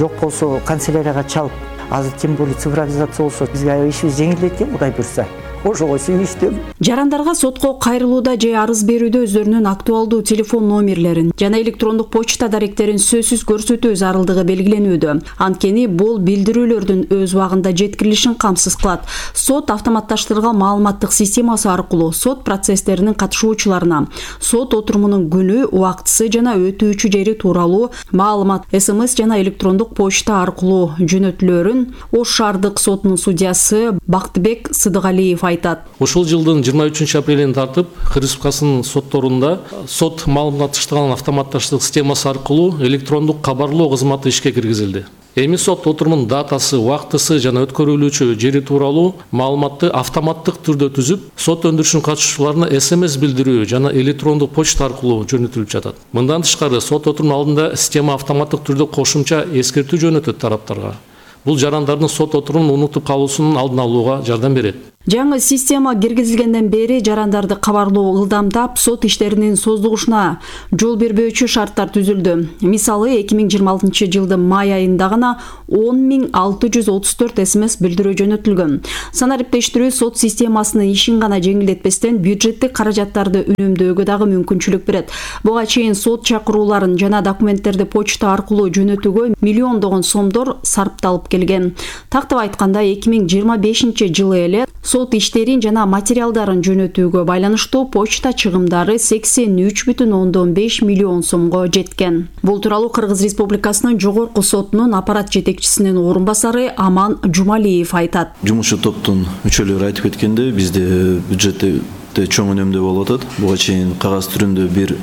S27: жок болсо канцелярияга чалып, азыр тем более цифровизация болсо бизге ишибиз жеңилдейт экен, Кудай буйрса. ошого сүйүнүчтүм.
S26: Жарандарга сотко кайрылууда же арыз берүүдө өздөрүнүн актуалдуу телефон номерлерин жана электрондук почта даректерин сөзсүз көрсөтүү зарылдыгы белгиленүүдө. Анткени бул билдирүүлөрдүн өз убагында жеткирилишин камсыз кылат. Сот автоматташтырылган маалыматтык системасы аркылуу сот процесстеринин катышуучуларына сот отурумунун күнү, убактысы жана өтүүчү жери тууралуу маалымат СМС жана электрондук почта аркылуу жөнөтүлөрүн Ош шаардык сотунун судьясы Бактыбек Сыдыгалиев айтат.
S9: Ушул жылдын 23 апрелинен тартып Кыргыз Республикасынын сотторунда сот маалыматташтырылган автоматташтык системасы аркылуу электрондук кабарлоо кызматы ишке киргизилди. Эми сот отурумунун датасы, убактысы жана өткөрүлүүчү жери тууралуу маалыматты автоматтык түрдө түзүп, сот өндүрүшүнүн катышуучуларына СМС билдирүү жана электрондук почта аркылуу жөнөтүлүп жатат. Мындан тышкары сот отурумунун алдында система автоматтык түрдө кошумча эскертүү жөнөтөт тараптарга. Бул жарандардын сот отурумун унутуп калуусунун алдын алууга жардам берет.
S26: Жаңы система киргизилгенден бери жарандарды кабарлоо ылдамдап, сот иштеринин создугушуна жол бербөөчү шарттар түзүлдү. Мисалы 2026 жылдын май айында гана 10.634 СМС билдирүү жөнөтүлгөн. Санариптештирүү сот системасынын ишин гана жеңилдетпестен бюджеттик каражаттарды үнөмдөөгө дагы мүмкүнчүлүк берет. Буга чейин сот чакырууларын жана документтерди почта аркылуу жөнөтүүгө миллиондогон сомдор сарпталып келген. Тактап айтканда 2025 жылы эле сот иштерин жана материалдарын жөнөтүүгө байланыштуу почта чыгымдары 83,5 миллион сомго жеткен. Бул тууралуу Кыргыз Республикасынын жогорку сотунун аппарат жетекчисинин орун басары Аман Жумалиев айтат.
S10: Жумушчу топтун мүчөлөрү айтып кеткенде, бизде бюджетте чоң үнөмдүү болуп атат. Буга чейин кагаз түрүндө бир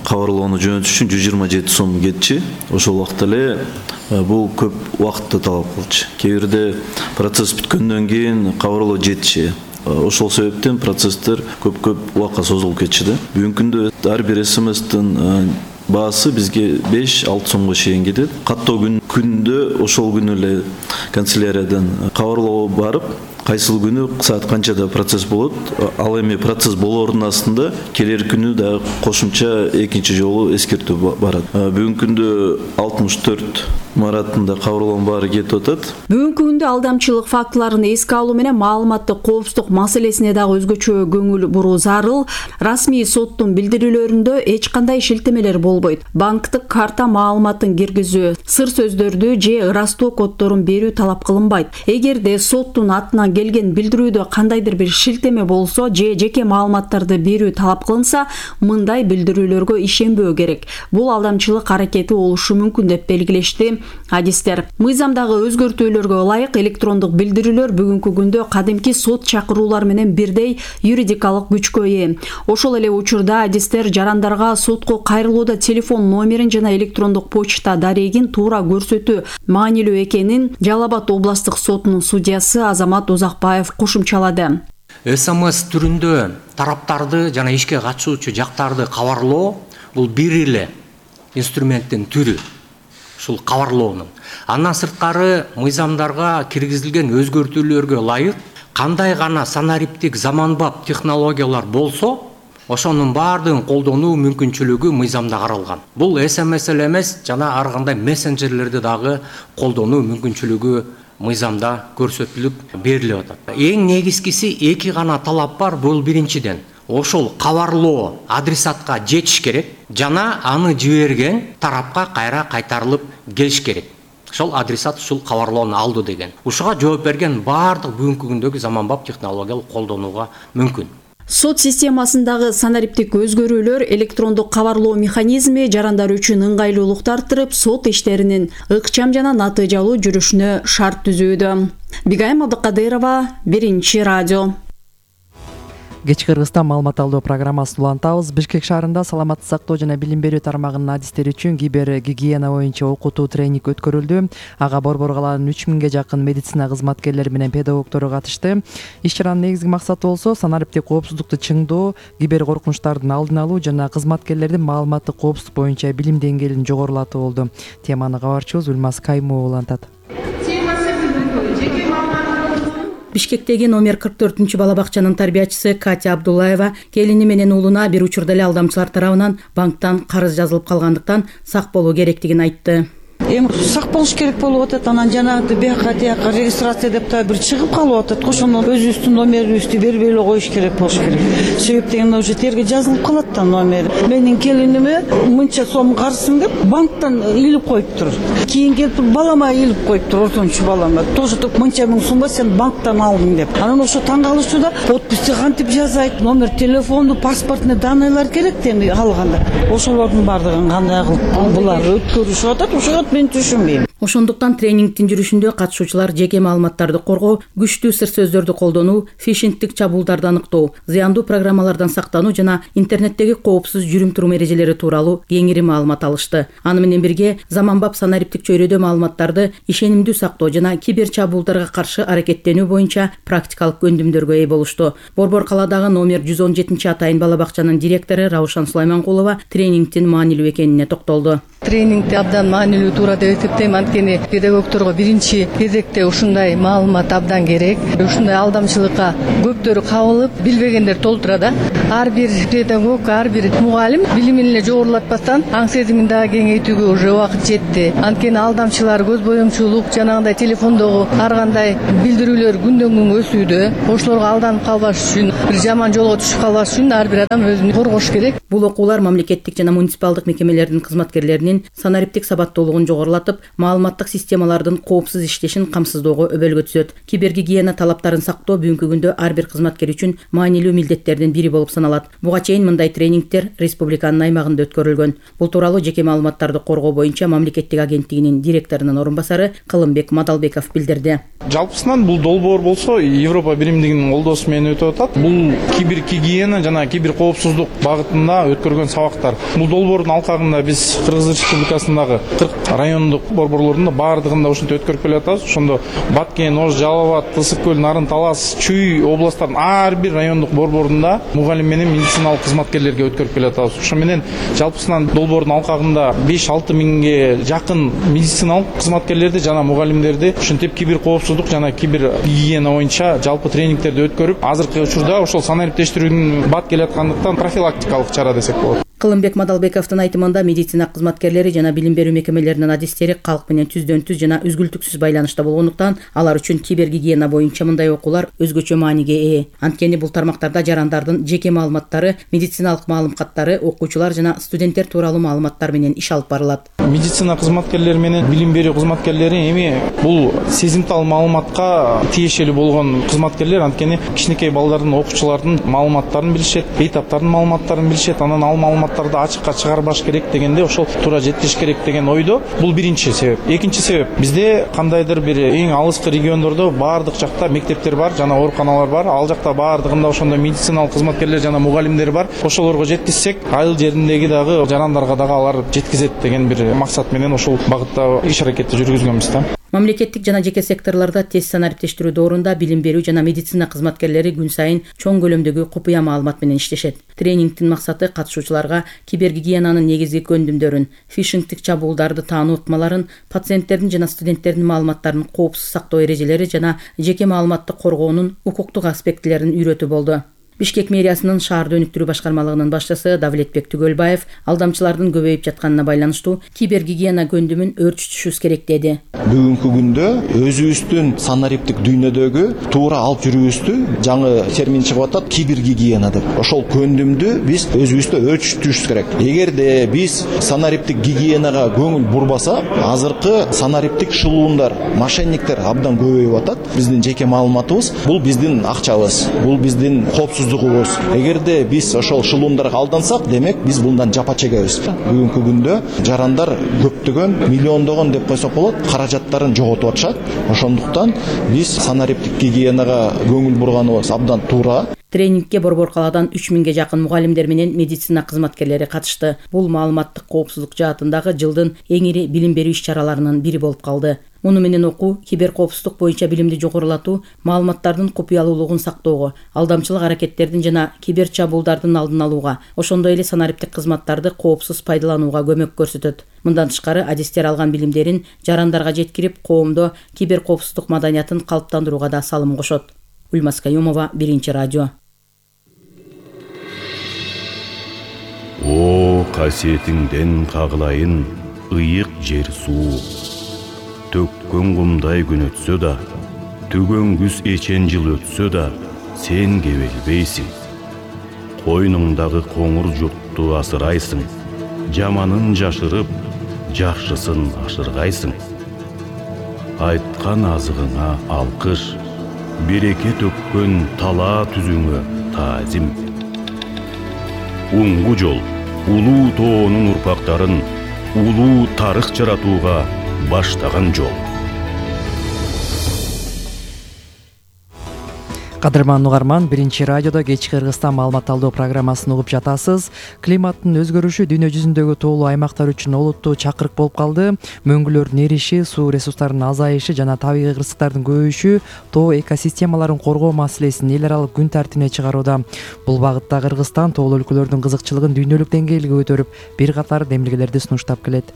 S10: кабарлоону жөнөтүш үчүн 127 сом кетчи. Ошол убакта эле бул көп убакытты талап кылчу. Кээ бирде процесс бүткөндөн кийин кабарлоо жетиши. Ошол себептен процесстер көп убакка созулуп кетчү да. Бүгүнкү күндө ар бир СМСтин баасы бизге 5-6 сомго чейин кетет. Каттоо күндө ошол күнү эле канцеляриядан кабарлоо барып, кайсыл күнү саат канчада процесс болот, ал эми процесс болоордун астында келер күнү да кошумча экинчи жолу эскертүү барат. Бүгүнкү күндө 64 маратында кабарлоонун баары кетип атат.
S26: Бүгүнкү күндө алдамчылык фактыларын эске алуу менен маалыматтык коопсуздук маселесине дагы өзгөчө көңүл буруу зарыл. Расмий соттун билдирүүлөрүндө эч кандай шилтемелер болбойт. Банктык карта маалыматын киргизүү, сыр сөздөрдү же ырастоо коддорун берүү талап кылынбайт. Эгерде соттун атынан келген билдирүүдө кандайдыр бир шилтеме болсо же жеке маалыматтарды берүү талап кылынса, мындай билдирүүлөргө ишенбөө керек. Бул алдамчылык аракети болушу мүмкүн деп белгилешти адистер. Мыйзамдагы өзгөртүүлөргө ылайык электрондук билдирүүлөр бүгүнкү күндө кадимки сот чакыруулар менен бирдей юридикалык күчкө ээ. Ошол эле учурда адистер жарандарга сотко кайрылууда телефон номерин жана электрондук почта дарегин туура көрсөтүү маанилүү экенин Жалал Абад областык сотунун судьясы Азамат Узакбаев кошумчалады.
S13: СМС түрүндө тараптарды жана ишке катышуучу жактарды кабарлоо бул бир эле инструменттин түрү. Ушул кабарлоонун. Андан сырткары мыйзамдарга киргизилген өзгөртүүлөргө ылайык кандай гана санариптик заманбап технологиялар болсо, ошонун баардыгын колдонуу мүмкүнчүлүгү мыйзамда каралган. Бул СМС эле эмес, жана ар кандай мессенджерлерди дагы колдонуу мүмкүнчүлүгү мыйзамда көрсөтүлүп берилип атат. Эң негизгиси эки гана талап бар. Бул биринчиден ошол кабарлоо адресатка жетиш керек жана аны жиберген тарапка кайра кайтарылып келиш керек. Ошол адресат ушул кабарлоону алды деген. Ушуга жооп берген баардык бүгүнкү күндөгү заманбап технологиялык колдонууга мүмкүн.
S26: Сот системасындагы санариптик өзгөрүүлөр электрондук кабарлоо механизми жарандар үчүн ыңгайлуулукту арттырып, сот иштеринин ыкчам жана натыйжалуу жүрүшүнө шарт түзүүдө. Бигайым Абдыкадырова, Биринчи радио.
S3: Кечки Кыргызстан маалымат алуу программасын улантабыз. Бишкек шаарында саламаттык сактоо жана билим берүү тармагынын адистери үчүн кибер гигиена боюнча окутуу тренинг өткөрүлдү. Ага Борбор калаанын 3000ге жакын медицина кызматкерлери менен педагогдору катышты. Иш чаранын негизги максаты болсо санариптик коопсуздукту чыңдоо, кибер коркунучтардын алдын алуу жана кызматкерлердин маалыматтык коопсуздук боюнча билим деңгээлин жогорулатуу болду. Теманы кабарчыбыз Үлмаз Каймова улантат.
S14: Бишкектеги номер 44 бала бакчанын тарбиячысы Катя Абдуллаева келини менен уулуна бир учурда эле алдамчылар тарабынан банктан карыз жазылып калгандыктан сак болуу керектигин айтты.
S15: эми сак болуш керек болуп атат. Анан жанагы бияка тияка регистрация деп да бир чыгып калып атат. Ошону өзүбүздүн номерибизди бербей эле коюш керек болуш керек. Себеп дегенде уже терге жазылып калат да номер. Менин келиниме мынча сом карызым деп банктан илип коюптур. Кийин келип балама илип коюптур, ортончу балама. Тоже мынча миң сумга сен банктан алдың деп. Анан ошо таң калышты да подписти кантип жазайт, номер телефонду, паспортный данныйлар керек эми алганда. Ошолордун баардыгын кандай кылып булар өткөрүшүп атат, ошого мен түшүнбөйм.
S14: Ошондуктан тренингдин жүрүшүндө катышуучулар жеке маалыматтарды коргоо, күчтүү сыр сөздөрдү колдонуу, фишингдик чабуулдарды аныктоо, зыяндуу программалардан сактануу жана интернеттеги коопсуз жүрүм-турум эрежелери тууралуу кеңири маалымат алышты. Аны менен бирге заманбап санариптик чөйрөдө маалыматтарды ишенимдүү сактоо жана кибер чабуулдарга каршы аракеттенүү боюнча практикалык көндүмдөргө ээ болушту. Борбор калаадагы номер 117 атайын бала бакчанын директору Раушан Сулайманкулова тренингдин маанилүү экенине токтолду.
S16: Тренингди абдан маанилүү туура деп эсептейм. Анткени педагогдорго биринчи кезекте ушундай маалымат абдан керек. Ушундай алдамчылыкка көптөрү кабылып, билбегендер толтура да. Ар бир педагог, ар бир мугалим билимин эле жогорулатпастан аң сезимин дагы кеңейтүүгө уже убакыт жетти. Анткени алдамчылар, көз боемчулук, жанагындай телефондогу ар кандай билдирүүлөр күндөн күнгө өсүүдө. Ошолорго алданып калбаш үчүн, бир жаман жолго түшүп калбаш үчүн ар бир адам өзүн коргош керек.
S14: Бул окуулар мамлекеттик жана муниципалдык мекемелердин кызматкерлеринин санариптик сабаттуулугун жогорулатып, маалыматтык системалардын коопсуз иштешин камсыздоого өбөлгө түзөт. Кибергигиена талаптарын сактоо бүгүнкү күндө ар бир кызматкер үчүн маанилүү милдеттердин бири болуп саналат. Буга чейин мындай тренингдер республиканын аймагында өткөрүлгөн. Бул тууралуу жеке маалыматтарды коргоо боюнча мамлекеттик агенттигинин директорунун орун басары Кылымбек Мадалбеков билдирди.
S17: Жалпысынан бул долбоор болсо Европа биримдигинин колдоосу менен өтүп атат. Бул кибергигиена жана кибер коопсуздук багытында өткөргөн сабактар. Бул долбоордун алкагында биз Кыргыз Республикасындагы 40 райондук борборлордун баардыгында ушинтип өткөрүп келатабыз. Ошондо Баткен, Ош, Жалал Абад, Тысык көл, Нарын, Талас, Чүй областтардын ар бир райондук борборунда мугалим менен медициналык кызматкерлерге өткөрүп келатабыз. Ошо менен жалпысынан долбоордун алкагында 5-6 миңге жакын медициналык кызматкерлерди жана мугалимдерди ушинтип кибер коопсуздук жана кибер гигиена боюнча жалпы тренингтерди өткөрүп, азыркы учурда ошол санариптештирүүнүн бат келаткандыктан профилактикалык чара десек болот.
S14: Кылымбек Мадалбековдун айтымында медицина кызматкерлери жана билим берүү мекемелеринин адистери калк менен түздөн-түз жана үзгүлтүксүз байланышта болгондуктан алар үчүн кибергигиена боюнча мындай окуулар өзгөчө мааниге ээ. Анткени бул тармактарда жарандардын жеке маалыматтары, медициналык маалым каттары, окуучулар жана студенттер тууралуу маалыматтар менен иш алып барылат.
S17: Медицина кызматкерлери менен билим берүү кызматкерлери эми бул сезимтал маалыматка тиешелүү болгон кызматкерлер, анткени кичинекей балдардын, окуучулардын маалыматтарын билишет, бейтаптардын маалыматтарын билишет, анан ал маалыматтарды ачыкка чыгарбаш керек дегенде ошол туура жетиш керек деген ойдо. Бул биринчи себеп. Экинчи себеп, бизде кандайдыр бир эң алыскы региондордо баардык жакта мектептер бар жана ооруканалар бар. Ал жакта баардыгында ошондой медициналык кызматкерлер жана мугалимдер бар. Ошолорго жеткизсек, айыл жериндеги дагы жарандарга дагы алар жеткизет деген бир максат менен ошол багытта иш аракетти жүргүзгөнбүз да.
S14: Мамлекеттик жана жеке секторлордо тез санариптештирүү доорунда билим берүү жана медицина кызматкерлери күн сайын чоң көлөмдөгү купуя маалымат менен иштешет. Тренингдин максаты катышуучуларга кибергигиенанын негизги көндүмдөрүн, фишингдик чабуулдарды таануу ыкмаларын, пациенттердин жана студенттердин маалыматтарын коопсуз сактоо эрежелери жана жеке маалыматты коргоонун укуктук аспектилерин үйрөтүү болду. Бишкек мэриясынын шаарды өнүктүрүү башкармалыгынын башчысы Давлетбек Түгөлбаев алдамчылардын көбөйүп жатканына байланыштуу кибергигиена көндүмүн өөрчүтүшүбүз керек деди.
S18: Бүгүнкү күндө өзүбүздүн санариптик дүйнөдөгү туура алып жүрүүбүздү жаңы термин чыгып атат кибергигиена деп. Ошол көндүмдү биз өзүбүздө өөрчүтүшүбүз керек. Эгерде биз санариптик гигиенага көңүл бурбасак, азыркы санариптик шылуундар, мошенниктер абдан көбөйүп атат. Биздин жеке маалыматыбыз бул биздин акчабыз, бул биздин коопсуз. Эгерде биз ошол шылуундарга алдансак, демек биз булдан жапа чегебиз. Бүгүнкү күндө жарандар көптөгөн, миллиондогон деп койсок болот, каражаттарын жоготуп атышат. Ошондуктан биз санариптик гигиенага көңүл бурганыбыз абдан туура.
S14: Тренингке борбор калаадан 3000ге жакын мугалимдер менен медицина кызматкерлери катышты. Бул маалыматтык коопсуздук жаатындагы жылдын эң ири билим берүү иш-чараларынын бири болуп калды. Муну менен окуу, кибер коопсуздук боюнча билимди жогорулатуу, маалыматтардын купуялуулугун сактоого, алдамчылык аракеттердин жана кибер чабуулдардын алдын алууга, ошондой эле санариптик кызматтарды коопсуз пайдаланууга көмөк көрсөтөт. Мындан тышкары адистер алган билимдерин жарандарга жеткирип, коомдо кибер коопсуздук маданиятын калыптандырууга да салым кошот. Ульмас Каюмова, Биринчи радио.
S11: О, касиетиңден кагылайын, ыйык жер суу. Төккөн кумдай күн өтсө да, түгөн күз эчен жыл өтсө да, сен кебелбейсиң. Койнуңдагы коңур журтту асырайсың, жаманын жашырып, жакшысын ашыргайсың. Айткан азыгыңа алкыш, береке төккөн талаа түзүңө таазим. Уңгу жол улуу тоонун урпактарын улуу тарых жаратууга баштаган жол.
S3: Кадырман угарман, биринчи радиодо кечки Кыргызстан маалымат алуу программасын угуп жатасыз. Климаттын өзгөрүшү дүйнө жүзүндөгү тоолуу аймактар үчүн олуттуу чакырык болуп калды. Мөңгүлөрдүн эриши, суу ресурстарынын азайышы жана табигый кырсыктардын көбөйүшү тоо экосистемаларын коргоо маселесин эл аралык күн тартибине чыгарууда. Бул багытта Кыргызстан тоолуу өлкөлөрдүн кызыкчылыгын дүйнөлүк деңгээлге көтөрүп, бир катар демилгелерди сунуштап келет.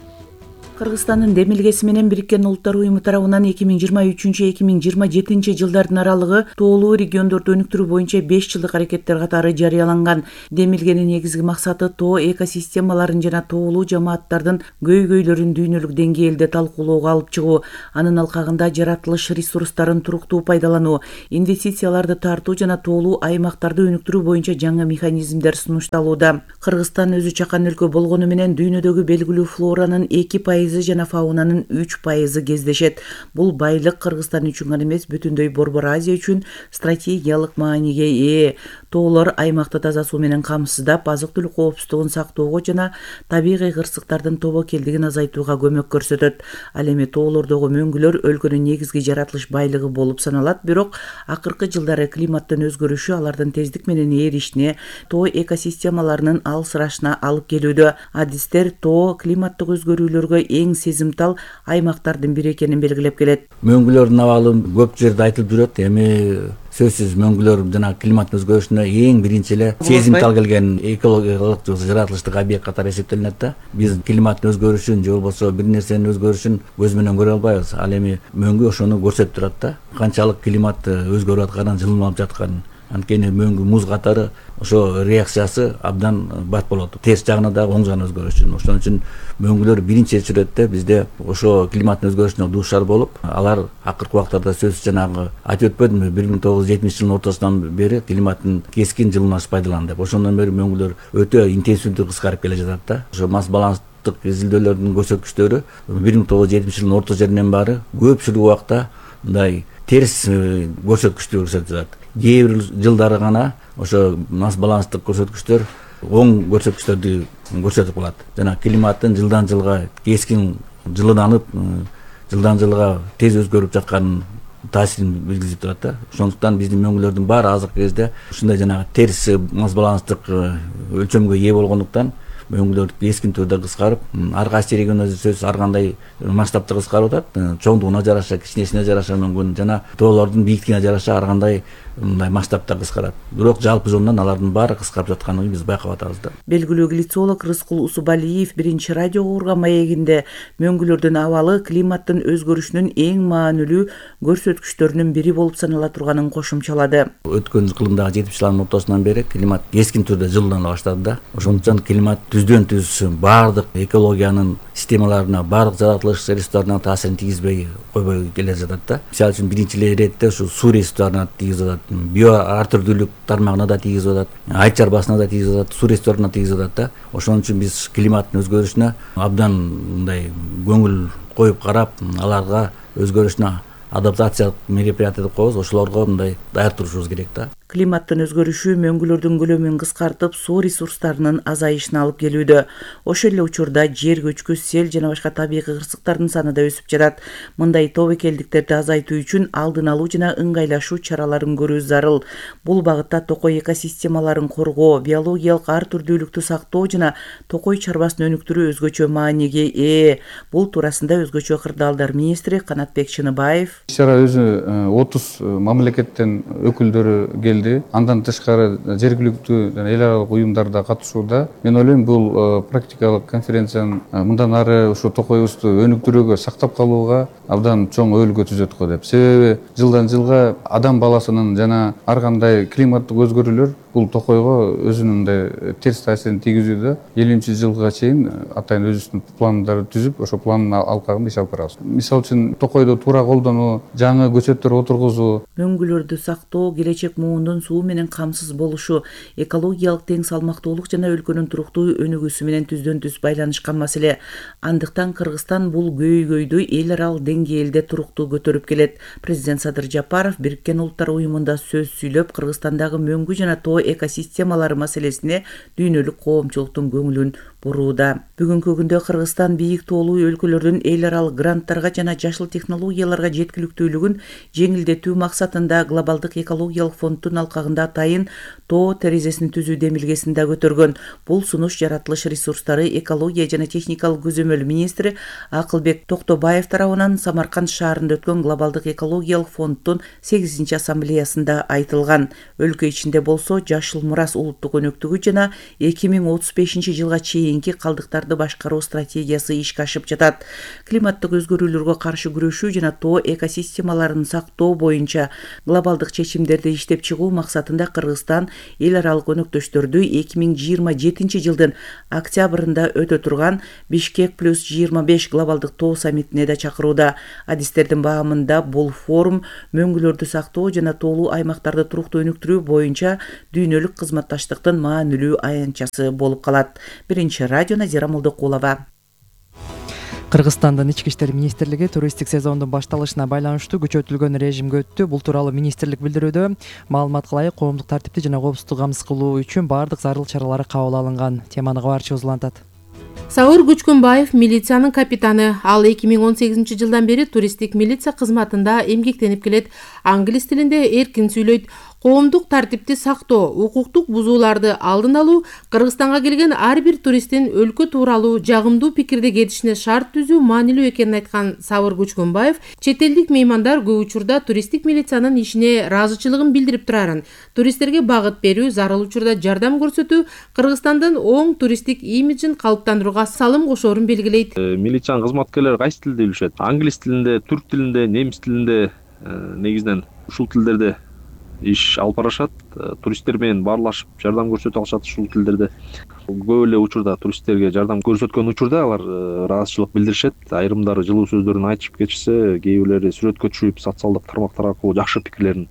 S5: Кыргызстандын демилгеси менен Бириккен Улуттар уюму тарабынан 2023-2027 жылдардын аралыгы тоолуу региондорду өнүктүрүү боюнча 5 жылдык аракеттер катары жарыяланган. Демилгенин негизги максаты тоо экосистемаларын жана тоолуу жамааттардын көйгөйлөрүн дүйнөлүк деңгээлде талкуулоого алып чыгуу, анын алкагында жаратылыш ресурстарын туруктуу пайдалануу, инвестицияларды тартуу жана тоолуу аймактарды өнүктүрүү боюнча жаңы механизмдер сунушталууда. Кыргызстан өзү чакан өлкө болгону менен дүйнөдөгү белгилүү флоранын 2% жана фаунанын 3% кездешет. Бул байлык Кыргызстан үчүн гана эмес, бүтүндөй Борбор Азия үчүн стратегиялык мааниге ээ. Тоолор аймакты таза суу менен камсыздап, азык-түлүк коопсуздугун сактоого жана табигый кырсыктардын тобокелдигин азайтууга көмөк көрсөтөт. Ал эми тоолордогу мөңгүлөр өлкөнүн негизги жаратылыш байлыгы болуп саналат, бирок акыркы жылдары климаттын өзгөрүшү алардын тездик менен эришине, тоо экосистемаларынын алсырашына алып келүүдө. Адистер тоо климаттык өзгөрүүлөргө эң сезимтал аймактардын бири экенин белгилеп келет.
S1: Мөңгүлөрдүн абалы көп жерде айтылып жүрөт, эми сөзсүз мөңгүлөр жана климат өзгөрүшүнө эң биринчи эле сезимтал келген экологиялык жаратылыштык объект катары эсептелинет да. Биз климаттын өзгөрүшүн же болбосо бир нерсенин өзгөрүшүн көз менен көрө албайбыз. Ал эми мөңгү ошону көрсөтүп турат да. Канчалык климат өзгөрүп атканын, жылынып жатканын. Анткени мөңгү муз катары ошо реакциясы абдан бат болот. Терс жагына дагы оң жагына өзгөрүш үчүн. Ошон үчүн мөңгүлөр биринчи чөйрөттө бизде ошо климаттын өзгөрүшүнө дуушар болуп, алар акыркы убактарда сөзсүз жанагы айтып өтпөдүмбү, 1970 жылдын ортосунан бери климаттын кескин жылынышын пайдаланды деп. Ошондон бери мөңгүлөр өтө интенсивдүү кыскарып келе жатат да. Ошо масс баланстык изилдөөлөрдүн көрсөткүчтөрү 1970 жылдын орто жеринен баары көпчүлүк убакта мындай терс көрсөткүчтү көрсөтүп жатат. Кээ бир жылдары гана ошо масс баланстык көрсөткүчтөр оң көрсөткүчтөрдү көрсөтүп калат. Жана климаттын жылдан жылга кескин жылынанып, жылдан жылга тез өзгөрүп жатканын таасирин билгизип турат да. Ошондуктан биздин мөңгүлөрдүн баары азыркы кезде ушундай жанагы терс масс баланстык өлчөмгө ээ болгондуктан мөңгүлөр кескин түрдө кыскарып, ар кайсы региондо сөзсүз ар кандай масштабта кыскарып атат. Чоңдугуна жараша, кичинесине жараша мөңгүн жана тоолордун бийиктигине жараша ар кандай мындай масштабта кыскарат. Бирок жалпы жонунан алардын баары кыскарып жатканын биз байкап атабыз да.
S5: Белгилүү глицолог Рыскул Усубалиев биринчи радиого урган маегинде мөңгүлөрдүн абалы климаттын өзгөрүшүнүн эң маанилүү көрсөткүчтөрүнүн бири болуп санала турганын кошумчалады.
S1: Өткөн кылымдагы 70-жылдардын ортосунан бери климат кескин түрдө жылына баштады да. Ошондуктан климат түздөн түз баардык экологиянын системаларына, баардык жаратылыш ресурстарына таасирин тийгизбей койбой келе жатат да. Мисалы үчүн биринчи иретте ушу суу ресурстарына тийгизип атат, био ар түрдүүлүк тармагына да тийгизип атат, айт чарбасына да тийгизип атат, суу ресурстарына тийгизип атат да. Ошон үчүн биз климаттын өзгөрүшүнө абдан мындай көңүл коюп карап, аларга өзгөрүшүнө адаптациялык мероприятия деп коебуз, ошолорго мындай даяр турушубуз керек да.
S5: Климаттын өзгөрүшү мөңгүлөрдүн көлөмүн кыскартып, суу ресурстарынын азайышына алып келүүдө. Ошол эле учурда жер көчкү, сел жана башка табигый кырсыктардын саны да өсүп жатат. Мындай тобокелдиктерди азайтуу үчүн алдын алуу жана ыңгайлашуу чараларын көрүү зарыл. Бул багытта токой экосистемаларын коргоо, биологиялык ар түрдүүлүктү сактоо жана токой чарбасын өнүктүрүү өзгөчө мааниге ээ. Бул туурасында өзгөчө кырдаалдар министри Канатбек Чыныбаев.
S19: Ишара өзү 30 мамлекеттен өкүлдөрү келди. Андан тышкары жергиликтүү жана эл аралык уюмдар да катышууда. Мен ойлойм, бул практикалык конференциянын мындан ары ушу токойубузду өнүктүрүүгө, сактап калууга абдан чоң өбөлгө түзөт го деп. Себеби жылдан жылга адам баласынын жана ар кандай климаттык өзгөрүүлөр бул токойго өзүнүн да терс таасирин тийгизүүдө 50-жылга чейин атайын өзүбүздүн пландарды түзүп, ошо пландын алкагында иш алып барабыз. Мисалы үчүн токойду туура колдонуу, жаңы көчөттөр отургузуу,
S5: мөңгүлөрдү сактоо, келечек муундун суу менен камсыз болушу, экологиялык тең салмактуулук жана өлкөнүн туруктуу өнүгүүсү менен түздөн түз байланышкан маселе. Андыктан Кыргызстан бул көйгөйдү эл аралык деңгээлде туруктуу көтөрүп келет. Президент Садыр Жапаров Бириккен Улуттар уюмунда сөз сүйлөп, Кыргызстандагы мөңгү жана тоо экосистемалары маселесине дүйнөлүк коомчулуктун көңүлүн бурууда. Бүгүнкү күндө Кыргызстан бийик тоолуу өлкөлөрдүн эл аралык гранттарга жана жашыл технологияларга жеткиликтүүлүгүн жеңилдетүү максатында глобалдык экологиялык фонддун алкагында атайын тоо терезесин түзүү демилгесин да көтөргөн. Бул сунуш жаратылыш ресурстары, экология жана техникалык көзөмөл министри Акылбек Токтобаев тарабынан Самарканд шаарында өткөн глобалдык экологиялык фонддун 8-чи ассамблеясында айтылган. Өлкө ичинде болсо жашыл мурас улуттук өнөктүгү жана 2035-жылга чейинки калдыктарды башкаруу стратегиясы ишке ашып жатат. Климаттык өзгөрүүлөргө каршы күрөшүү жана тоо экосистемаларын сактоо боюнча глобалдык чечимдерди иштеп чыгуу максатында Кыргызстан эл аралык өнөктөштөрдү 2027-жылдын октябрында өтө турган Бишкек плюс 25 глобалдык тоо саммитине да чакырууда. Адистердин баамында бул форум мөңгүлөрдү сактоо жана тоолуу аймактарды туруктуу өнүктүрүү боюнча дүйнөлүк кызматташтыктын маанилүү аянтчасы болуп калат. Биринчи радио Назира Молдокулова.
S3: Кыргызстандын ички иштер министрлиги туристтик сезондун башталышына байланыштуу күчөтүлгөн режимге өттү. Бул тууралуу министрлик билдирүүдө. Маалыматка ылайык, коомдук тартипти жана коопсуздукту камсыз кылуу үчүн баардык зарыл чаралар кабыл алынган. Теманы кабарчыбыз улантат.
S2: Сауыр Күчкүнбаев милициянын капитаны. Ал 2018-жылдан бери туристтик милиция кызматында эмгектенип келет. Англис тилинде эркин сүйлөйт. Коомдук тартипти сактоо, укуктук бузууларды алдын алуу, Кыргызстанга келген ар бир туристтин өлкө тууралуу жагымдуу пикирде кетишине шарт түзүү маанилүү экенин айткан Сауыр Күчкүнбаев чет элдик меймандар көп учурда туристтик милициянын ишине ыраазычылыгын билдирип турарын, туристтерге багыт берүү, зарыл учурда жардам көрсөтүү Кыргызстандын оң туристтик имиджин калыптандырууга салым кошоорун белгилейт.
S12: Милициянын кызматкерлери кайсы тилде билишет? Англис тилинде, түрк тилинде, немис тилинде, негизинен ушул тилдерде иш алып барышат. Туристтер менен баарлашып жардам көрсөтө алышат ушул тилдерде. Көп эле учурда туристтерге жардам көрсөткөн учурда алар ыраазычылык билдиришет. Айрымдары жылуу сөздөрүн айтышып кетишсе, кээ бирлери сүрөткө түшүп, социалдык тармактар аркылуу жакшы пикирлерин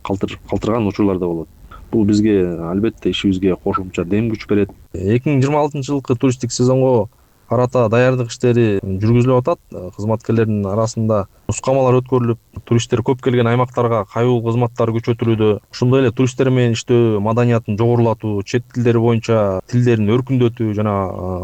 S12: калтырган учурлар да болот. Бул бизге албетте ишибизге кошумча дем күч берет. 2026-жылкы туристтик сезонго карата даярдык иштери жүргүзүлүп атат. Кызматкерлердин арасында нускамалар өткөрүлүп, туристтер көп келген аймактарга кайбыл кызматтар күчөтүлүүдө. Ошондой эле туристтер менен иштөө, маданиятын жогорулатуу, чет тилдери боюнча тилдерин өркүндөтүү жана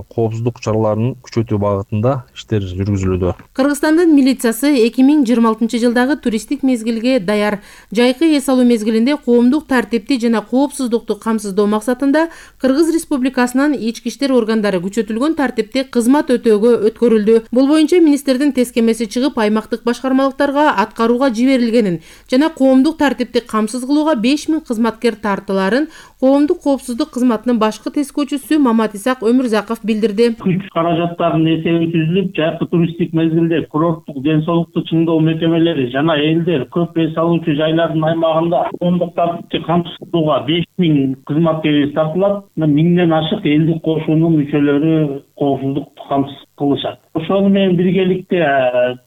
S12: коопсуздук чараларын күчөтүү багытында иштер жүргүзүлүүдө.
S2: Кыргызстандын милициясы 2026-жылдагы туристтик мезгилге даяр. Жайкы эс алуу мезгилинде коомдук тартипти жана коопсуздукту камсыздоо максатында Кыргыз Республикасынын ички иштер органдары күчөтүлгөн тартипти кызмат өтөөгө өткөрүлдү. Бул боюнча министрдин тескемеси чыгып, аймактык башкармалыктарга аткарууга жиберилгенин жана коомдук тартипти камсыз кылууга 5000 кызматкер тартыларын коомдук коопсуздук кызматынын башкы тескөөчүсү Маматисак Өмүрзаков билдирди.
S20: Күч каражаттарынын эсеби түзүлүп, жайкы туристтик мезгилде курорттук ден соолукту чыңдоо мекемелери жана элдер көп эс алуучу жайлардын аймагында коомдук тартипти камсыз кылууга 5000 кызматкер тартылат. 1000ден ашык элдик кошуунун мүчөлөрү коопсуздукту камсыз кылышат. Ошону менен биргеликте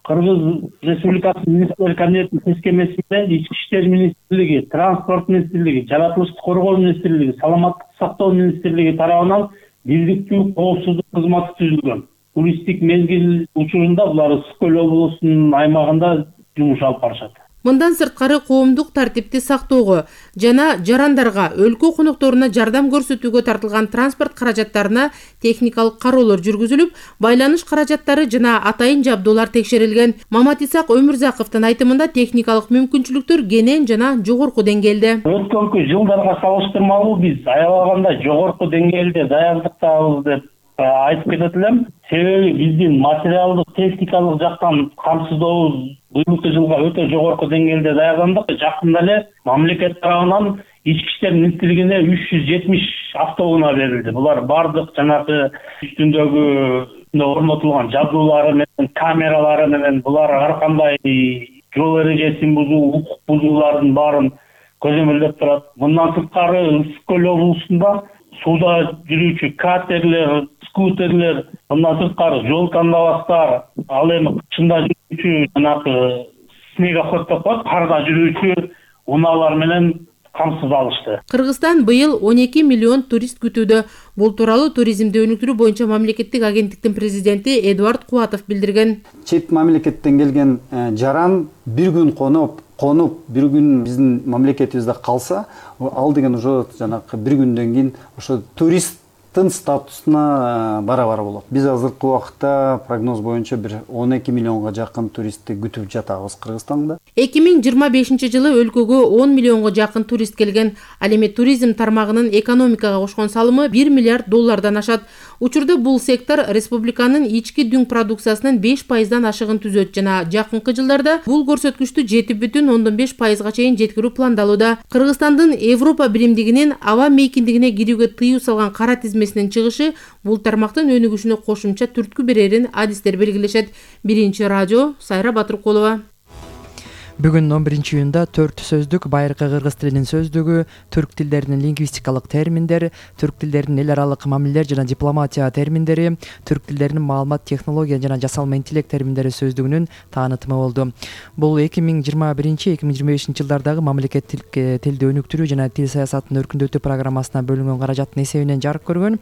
S20: Кыргыз Республикасынын министрлер кабинетинин тескемеси менен ички иштер министрлиги, транспорт министрлиги, жаратылышты коргоо министрлиги, саламаттык сактоо министрлиги тарабынан бирдиктүү коопсуздук кызматы түзүлгөн. Туристтик мезгил учурунда булар Ысык көл облусунун аймагында жумуш алып барышат.
S2: Мындан сырткары коомдук тартипти сактоого жана жарандарга, өлкө конокторуна жардам көрсөтүүгө тартылган транспорт каражаттарына техникалык кароолор жүргүзүлүп, байланыш каражаттары жана атайын жабдуулар текшерилген. Маматисак Өмүрзаковдун айтымында техникалык мүмкүнчүлүктөр кенен жана жогорку деңгээлде.
S20: Өткөнкү жылдарга салыштырмалуу биз аябаганда жогорку деңгээлде даярдыктабыз деп айтып кетет элем. Себеби биздин материалдык, техникалык жактан камсыздообуз быйылкы жылга өтө жогорку деңгээлде даярдандык. Жакында эле мамлекет тарабынан ички иштер министрлигине 370 автоунаа берилди. Булар бардык жанагы үстүндөгү орнотулган жабдуулары менен, камералары менен булар ар кандай жол эрежесин бузуу, укук бузуулардын баарын көзөмөлдөп турат. Мындан сырткары Ысык көл облусунда сууда жүрүүчү катерлер, скутерлер, мындан сырткары жол тандабастар, ал эми кышында жүрүүчү жанагы снегоход деп коет, карда жүрүүчү унаалар менен камсыз алышты.
S2: Кыргызстан быйыл 12 миллион турист күтүүдө. Бул тууралуу туризмди өнүктүрүү боюнча мамлекеттик агенттиктин президенти Эдуард Кубатов билдирген.
S4: Чет мамлекеттен келген жаран бир күн конуп, бир күн биздин мамлекетибизде калса, ал деген уже жанагы бир күндөн кийин ошо туристтин статусуна барабар болот. Биз азыркы убакытта прогноз боюнча бир 12 миллионго жакын туристти күтүп жатабыз Кыргызстанда.
S2: 2025 жылы өлкөгө 10 миллионго жакын турист келген. Ал эми туризм тармагынын экономикага кошкон салымы 1 миллиард доллардан ашат. Учурда бул сектор республиканын ички дүң продукциясынын 5%дан ашыгын түзөт жана жакынкы жылдарда бул көрсөткүчтү 7,5%га чейин жеткирүү пландалууда. Кыргызстандын Европа биримдигинин аба мейкиндигине кирүүгө тыюу салган кара тизмесинин чыгышы бул тармактын өнүгүшүнө кошумча түрткү берерин адистер белгилешет. Биринчи радио Сайра Батыркулова.
S3: Бүгүн 11-июнда 4 сөздүк, байыркы кыргыз тилинин сөздүгү, түрк тилдеринин лингвистикалык терминдер, түрк тилдеринин эл аралык мамилелер жана дипломатия терминдери, түрк тилдеринин маалымат технология жана жасалма интеллект терминдери сөздүгүнүн таанытымы болду. Бул 2021-2025 жылдардагы мамлекеттик тилди өнүктүрүү жана тил саясатын өркүндөтүү программасына бөлүнгөн каражаттын эсебинен жарык көргөн.